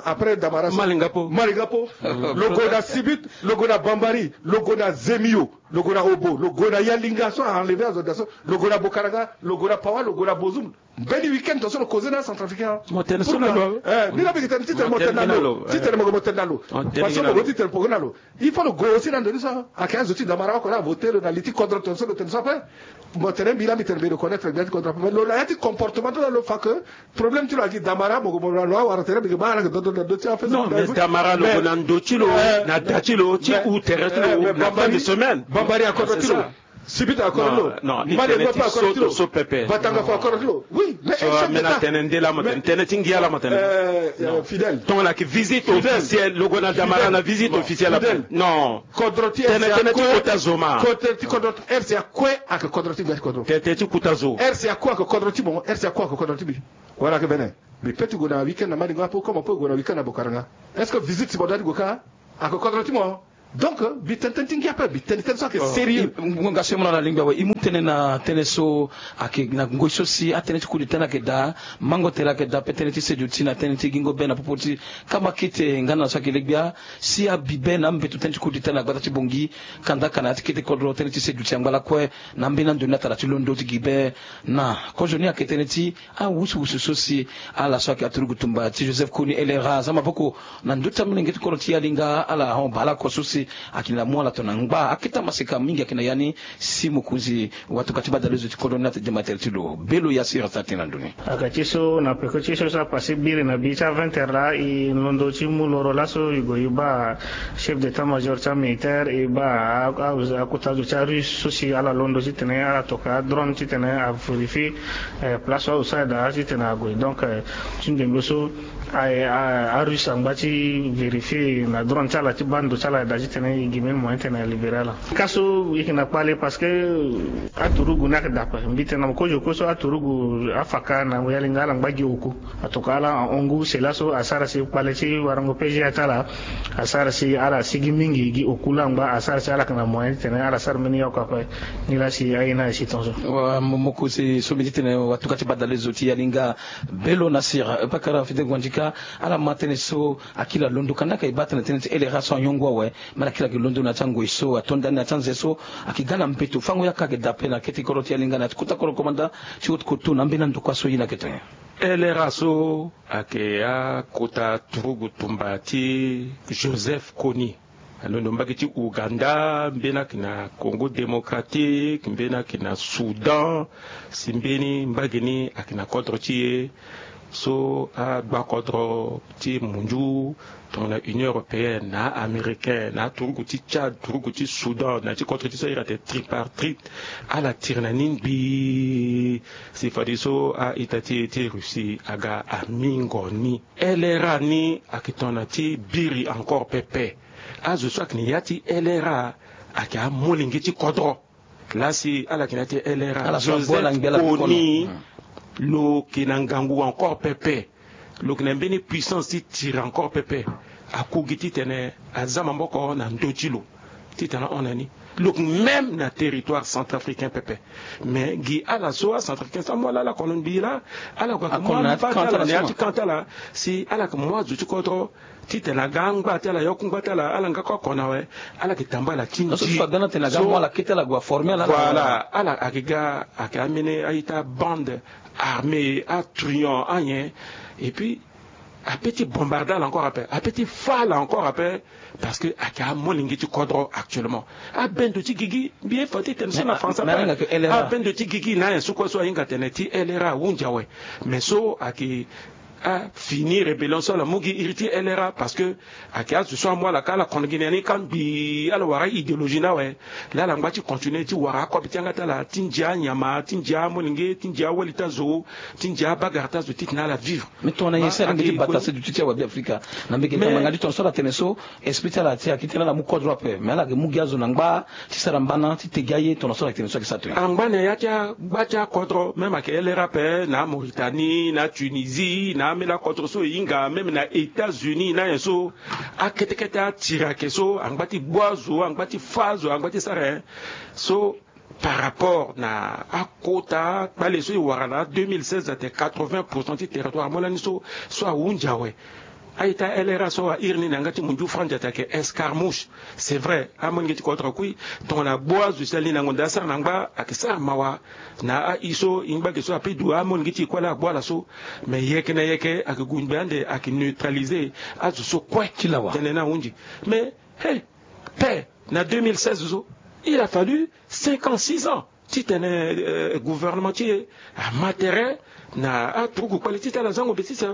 Après Damara so, Malingapo, Malingapo, lo gue na Sibut, lo gue na Bambari, lo gue na Zemio, lo gue na Obo, lo gue na Yalinga so a enlever azo daa so, lo gue na Bokaranga, lo gue na Pawa, lo gue na Bozoum. Mbeni week-end tongaso lo causer na acentrafricain. Mo tene so na lo. Ni la mbi yeke tene ti tene mo tene na lo, ti tene mo yeke mo tene na lo. Parce que mo gue ti tene poko na lo. Il faut lo gue aussi na ndo ni so ayeke azo ti Damara oko la avoter lo na li ti kodro tongaso lo tene so ape. Mo tene mbi la mbi tene mbi reconnaître gbia ti kodro ape, mais lo na ya ti comportement ti lo la lo fa que problème ti lo agi Damara mo gue mo lo awara tene mbi yeke baa ala yeke dodo na ndo ti afe. Non, mais Damara lo gue na ndo ti lo, na da ti lo ti ou tere ti lo na fin de semaine. Bambari akodro ti lo. Sibit akodro ti lo. Mali ngope akodro ti lo. Batanga fo akodro ti lo. Oui, mais so amena tene nde la mo tene, tene ti ngia la mo tene. Fidèle, tongana ayeke visite officielle, lo gue na Damara na visite officielle ape. Non. Kodro ti tene ti kota zo ma. Kodro ti kodro ti R C A kue ayeke kodro ti gbia ti kodro. Tene ti kota zo. R C A kue ayeke kodro ti mo, R C A kue ayeke kodro ti mbi. Wala ayeke vene. Mbi peut ti gue na week-end na Malingo ape, comme on peut gue na week-end na Bokaranga. Est-ce que visite si mo doit ti gue kâ? Ayeke kodro ti mo. Donc mbi tene tënë ti ngia ape, mbi tene tënë so ayeke sérieux. Ngonga so e mu na ala lingbi awe, e mu tënë na tënë so ayeke na ngoi so si atënë ti coup d'état ni ayeke daa. Mango tere ayeke daa ape tënë ti seduti na tënë ti gingo be na popo ti kama kete nga na so ayeke legbia. Si abi be na ambeto tënë ti coup d'état na gbata ti Bangui, kanda ka na ya ti kete kodro tënë ti seduti angba lakue. Na ambeni ando ni atara ti londo ti gi be na kozo ni ayeke tënë ti awusuwusu so si ala so ayeke aturugu tumba ti Joseph Kony L R A aza maboko na ndö ti amolenge ti kodro ti Yalinga, ala hon baa ala oko so si ayeke na mu ala tongana ngba akete amaseka mingi ayeke na ya ni. Si mokonzi watuka ti badalezo ti kodro ni na tënë ti dema tere ti lo. Belo Yasir asara tënë na ndö ni. Aga ti so na peko ti so so apase biri na bi ti a vingt heures laa, e londo ti mu loro laso e gue e baa chef d'état-major ti amilitaire, e baa akota zo ti arusse so si ala londo titene ala toka adrone titene avérifier place so azo so ayeke daa titene ague. Donc ti ndembe so arusse angba ti vérifier na drone ti ala ti baa ndo ti ala ayeke daa titene e gi mbeni moyen titene alibérer ala. Ka so e yeke na kpale parce que aturugu ni ayeke daa ape. Mbi tene na mo kozo oko so aturugu afaka na Yalinga ala ngba gi oku. Atoka ala ahon ngu, c'est là so asara si kpale ti warango P G A ti ala asara si ala sigi mingi gi oku laa angba asara si ala yeke na moyen titene ala sara mbeni yaku ape. Nilaa si aye ni aye si tongaso. Wa mo, mokonzi so mbi ti tene watuka ti badalezo ti Yalinga, Belo Nasir, pakara Fidèle Nguandika, ala ma tënë so akiri alondo kanda ka e baa tënë tënë ti L R A so anyongo awe. Mara kiri ayeke londo na ya ti angoi so ato ndani na ya ti anze so ayeke ga na mbeto fango yaka ayeke daa ape na kete kodro ti Yalinga na ya ti kota kodro komanda ti haute couture na ambeni ando kua so ye ni ayeke tene. L R A so ayeke akota turugu tumba ti Joseph Kony. Alondo mbage ti Ouganda, mbeni ayeke na Congo Démocratique, mbeni ayeke na Soudan, si mbeni mbage ni ayeke na kodro ti e. So agbakodro ti mundu tongana Union européenne na a-américain na aturugu ti Tchad, turugu ti Soudan na ya ti kodro ti so a iri atene tripartite, ala tiri na ni ngbii. Si fadeso a-ita ti e ti Russie aga amingo ni. L R A ni ayeke tongana ti biri encore pepe. Azo so ayeke na ya ti L R A ayeke amolenge ti kodro. Laa si ala yeke na ya ti L R A, Joseph Kony, lo yeke na ngangu encore pepe. Lo yeke na mbeni puissance ti tiri encore pepe. Akogi titene aza maboko na ndö ti lo. Titene ahon na ni. Lo yeke même na territoire centrafricain pepe. Mais gi ala so acentrafricain so amu ala ala kono mbi laa, ala gue ayeke mu amba ti ala na ya ti camp ti ala. Si ala yeke mu azo ti kodro titene aga angba ti ala, yokungba ti ala, ala nga kue akona awe. Ala yeke tambala ti nzi so, ala ayeke ga ayeke amene a-ita bande armée, atruand anyen. Et puis ape ti bombarder ala encore ape, ape ti fa ala encore ape. Parce que ayeke amolenge ti kodro actuellement. Abendo ti gigi, mbi ye fa ti tene so na français ape. Abendo ti gigi na ayen so kue so ahinga tene ti L R A ahunzi awe. Mais so ayeke afini rébellion so ala mu gi iri ti L R A, parce que ayeke azo so amu ala ka ala kono gi na ni ka mbi ala wara idéologie ni awe. Laa ala ngba ti continuer ti wara akobe ti yanga ti ala, ti ndia anyama, ti ndia amolenge, ti ndia awali ti azo, ti ndia abagara ti azo, titene ala vivre. Mais tongana nyen si ala yeke ti batase duti ti awabe afrika? Na mbi yeke tene ngbanga ti tongana so ala tene so esprit ti ala ti ayeke ti tene ala mu kodro ape, mais ala yeke mu gi azo na ngba ti sara mbana ti te gi aye tongana so ala yeke tene so ayeke sara to nyen? Angba na ya ti agba ti akodro, même ayeke L R A ape, na Mauritanie, na Tunisie, na ameni akodro so e hinga, même na États-Unis na nyen so. Akete kete atiri ayeke so angba ti gbu azo, angba ti fa azo, angba ti sara nyen so. Par rapport na akota kpale so e wara na deux mille seize, atene quatre-vingts pour cent ti territoire amu lani so, so ahunzi awe. A-ita L R A so airi ni na yanga ti munzu franz ati ayeke escarmouche. C'est vrai, amolenge ti kodro akui. Tongana agbu azo si ala ni na ngonda asara na ngba, ayeke sara mawa. Na aye so e ngba ge so ape du amolenge ti e kue laa agbu ala so. Mais yeke na yeke ayeke gue ngbe ande ayeke neutraliser azo so kue ti lawa tene ni ahunzi. Mais he, pe na deux mille seize so, il a fallu cinq ans, six ans titene, euh, gouvernement ti e ama tere na aturugu kpale ti tene ala za ngombe ti si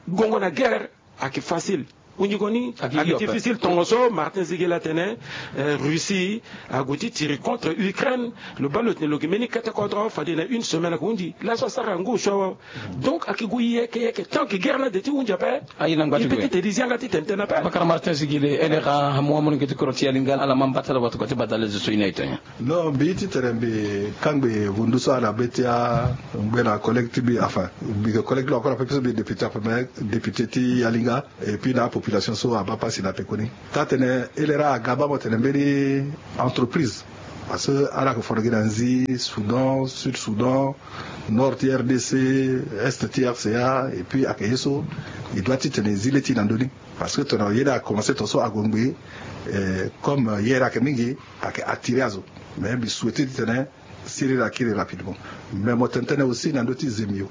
gongo na guerre. Ayeke facile. Hunzi gue ni ayeke difficile. Tongaso Martin Ziguel atene, euh, Russie ague ti tiri contre Ukraine. Lo baa lo tene lo yeke mbeni kete kodro, fade na une semaine ayeke hunzi. Laso asara ngu so awe. Donc ayeke gue yeke yeke tant que guerre ni ade ti hunzi ape. Aye na ngba ti gue. E peut ti tene e zi yanga ti tene tënë ape. Abakara Martin Ziguel, L R A amu amolenge ti kodro ti Yalinga, ala ma mba ti ala wato kua ti badale zo so e ni aye to nyen? Non, mbi ye ti tene mbi kangbi vundu so ala be ti angbe na collègue ti mbi, enfin mbi yeke collègue ti lo encore ape, puisque mbi yeke député ape, mais député ti Yalinga. Et puis na apopulation so abaa pasi na pekoni. Taa-tënë L R A aga baa mo tene mbeni entreprise. Parce que ala yeke foro gi na nzi Soudan, Sud Soudan, nord ti R D C, est ti R C A, et puis ayeke ye so e doit titene e zi le ti e na ndö ni. Parce que tongana yere akomanse tongaso ague ngbii, eh, comme yere ayeke mingi, ayeke attirer azo. Mais mbi souhaiter titene siriri akiri rapidement. Mais mo tene tënë aussi na ndö ti zemio.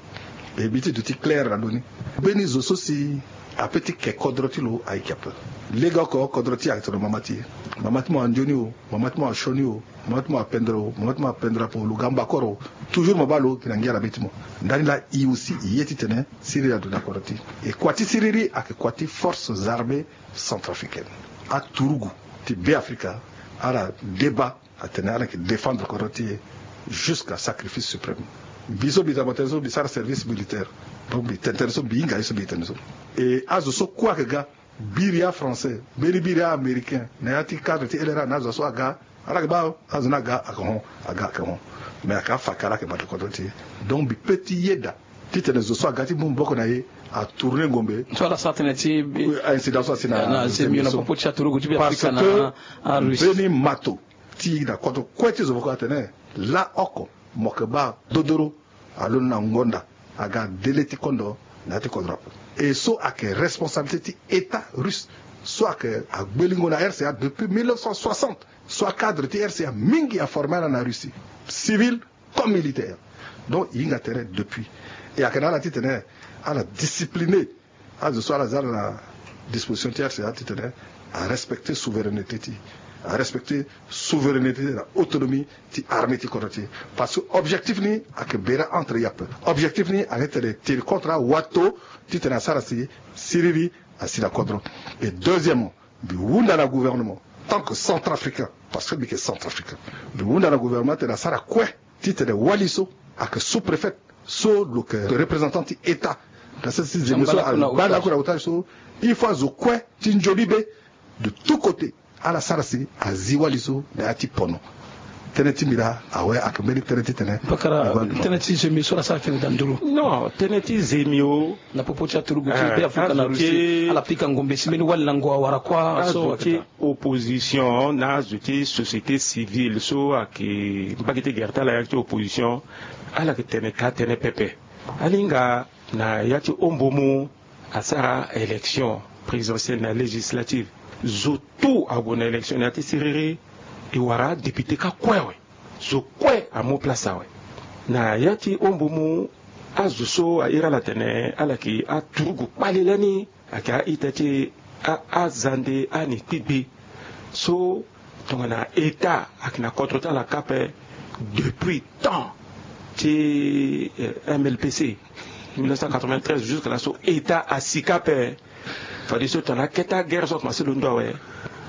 E mbi ti duti clair na ndö ni. Mbeni zo so si ape ti ke kodro ti lo ayeke ape. Legeoko kodro ti e ayeke tene mama ti e. Mama ti mo andioni o, mama ti mo asioni o, mama ti mo apendre o, mama ti mo apendre ape o, lo ga mbakoro. Toujours mo baa lo gi na ngia na be ti mo. Ndani laa e aussi e ye titene siriri adu na kodro ti e. E kua ti siriri ayeke kua ti forces armées centrafricaines. Aturugu ti Be Afrika ala débat atene ala yeke défendre kodro ti e jusqu'à sacrifice suprême. Mbi so mbi za mo tene so mbi sara service militaire. Donc mbi tene tënë so mbi hinga ye so mbi tene so. E azo so kue ayeke ga, biri a-français, mbeni biri a-américain na ya ti cadre ti L R A na azo so aga, ala yeke baa azo ni aga ayeke hon, aga ayeke hon. Mais ayeke afaka ala yeke bata kodro ti e. Donc mbi peut ti yeda titene zo so aga ti mu maboko na e atourner ngombe. So ala sara tënë ti incident so asi na zemio na popo ti aturugu ti Be Afrika na Russie. Mbeni mato ti na kodro kue ti zo moko atene laa oko mo yeke baa dodoro alondo na ngonda aga délai ti kondo na ya ti kodro ape. E so ayeke responsabilité ti État russe so ayeke agbelingo na R C A depuis mille neuf cent soixante. So acadre ti R C A mingi aformer ala na Russie, civil comme militaire. Donc e hinga tere depuis. E ayeke na ala titene ala discipliner azo so ala za ala na disposition ti R C A titene arespecter souveraineté ti e, arespecter souveraineté na autonomie ti armée ti kodro ti e. Parce que objectif ni ayeke bera entre e ape. Objectif ni ayeke tene tiri contre awato titene asara si siriri asi na kodro. Et deuxièmement, mbi hunda na gouvernement tant que centrafricain, parce que mbi yeke centrafricain, mbi hunda na gouvernement titene asara kue titene wali so ayeke sous-préfet so lo yeke représentant ti État na sese ti zemio so abanda akura otage so, il faut azo kue ti nzoni be de tout côté ala sara si azi wali so na ya ti pono. tënë ti mbi laa awe ayeke mbeni tënë titene. Pakara, tënë ti zemio so ala sara tene danduru. Non, tënë ti zemio na popo ti aturugu ti be afrika na russie, ala pika ngombe si mbeni wali na ngu awara kuâ so ayeke daa. Opposition na azo ti société civile so ayeke mbage ti gere ti ala ya ti opposition, ala yeke tene taa tënë pepe. Alinga na ya ti hombo mu asara élection présidentielle na législative, zo tout ague na élection na ya ti siriri. E wara adéputé kâ kue awe. Zo kue amu place awe. Na ya ti hombo mu azo so a iri ala tene ala yeke aturugu kpale lani, ayeke a-ita ti a- azande ani kpigbe so tongana état ayeke na kodro ti ala kâ ape depuis temps ti mlpc, mille neuf cent quatre-vingt-treize jusque là so état asi kâ ape. Fadeso tongana akete aguerre so akomanse londo awe,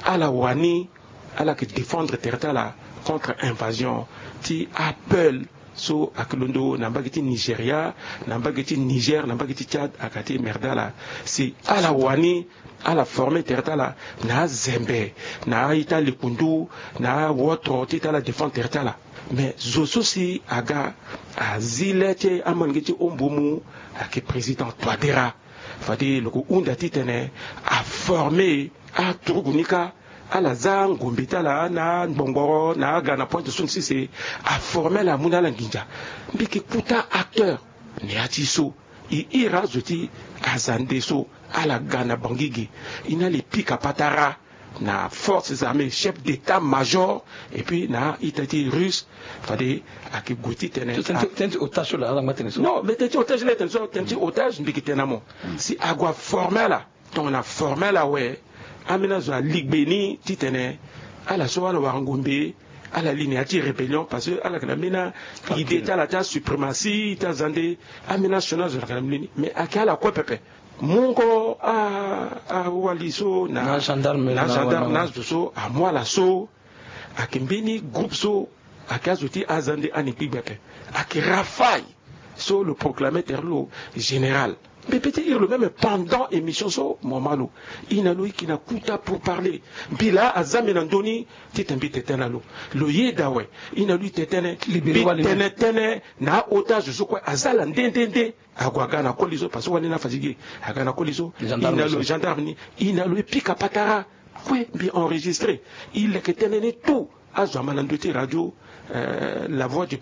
ala wani ala yeke défendre tere ti ala contre invasion ti apel so ayeke londo na mbage ti nigeria, na mbage ti niger, na mbage ti tchad ayeke ti merde ala. Si ala wani ala forme tere ti ala na azembe, na a-ita likundu, na awotro ti ita ala défendre tere ti ala. Mais zo so si aga azi le ti amange ti hombo mu ayeke président toadera. Fade lo ko hunda titene aforme aturugu ni kâ, ala za ngombe ti ala na angbongboro na aga na pointe so ni sese. Aforme ala amu na ala nginza. Mbi yeke kuta acteur na ya ti so. E iri azo ti azande so ala ga na bangi ge. E na ala e pika patara na forces armées, chef d'état major, et puis na ita ti russe. Fade ayeke gue titene tënë ti otage so laa ala ngba tene so. Non, mais tënë ti otage laa e tene so, tënë ti otage mbi yeke tene na mo. Si ague aforme ala tongana aforme ala awe, ambeni azo aligbe ni titene ala so ala wara ngombe, ala li na ya ti rébellion parce que ala yeke na ambeni idée ti ala ti asuprématie ti azande. Ambeni asioni azo ala yeke na mbeni ni, mais ayeke ala kue pepe. Mungo awali so na gendarme na azo so amu ala so. Ayeke mbeni groupe so ayeke azo ti azande ani kpigbe ape. Ayeke rafai so lo proclame tere lo général. Mbi pe ti iri lo même pendant émission so mo ma lo. E na lo e yeke na kuta pour parler. Mbi laa aza mbi na ndö ni titene mbi tene tënë na lo. Lo yeda awe. E na lo e tene tënë. Mbi tene tënë na a-otage so kue aza ala nde nde nde. Ague aga na koli so parce que wali ni afatigué. Aga na koli so. E na lo gendarme ni. E na lo e pika patara. Kue mbi enregistré. E leke tënë ni tout. Azo ama na ndö ti radio la voix du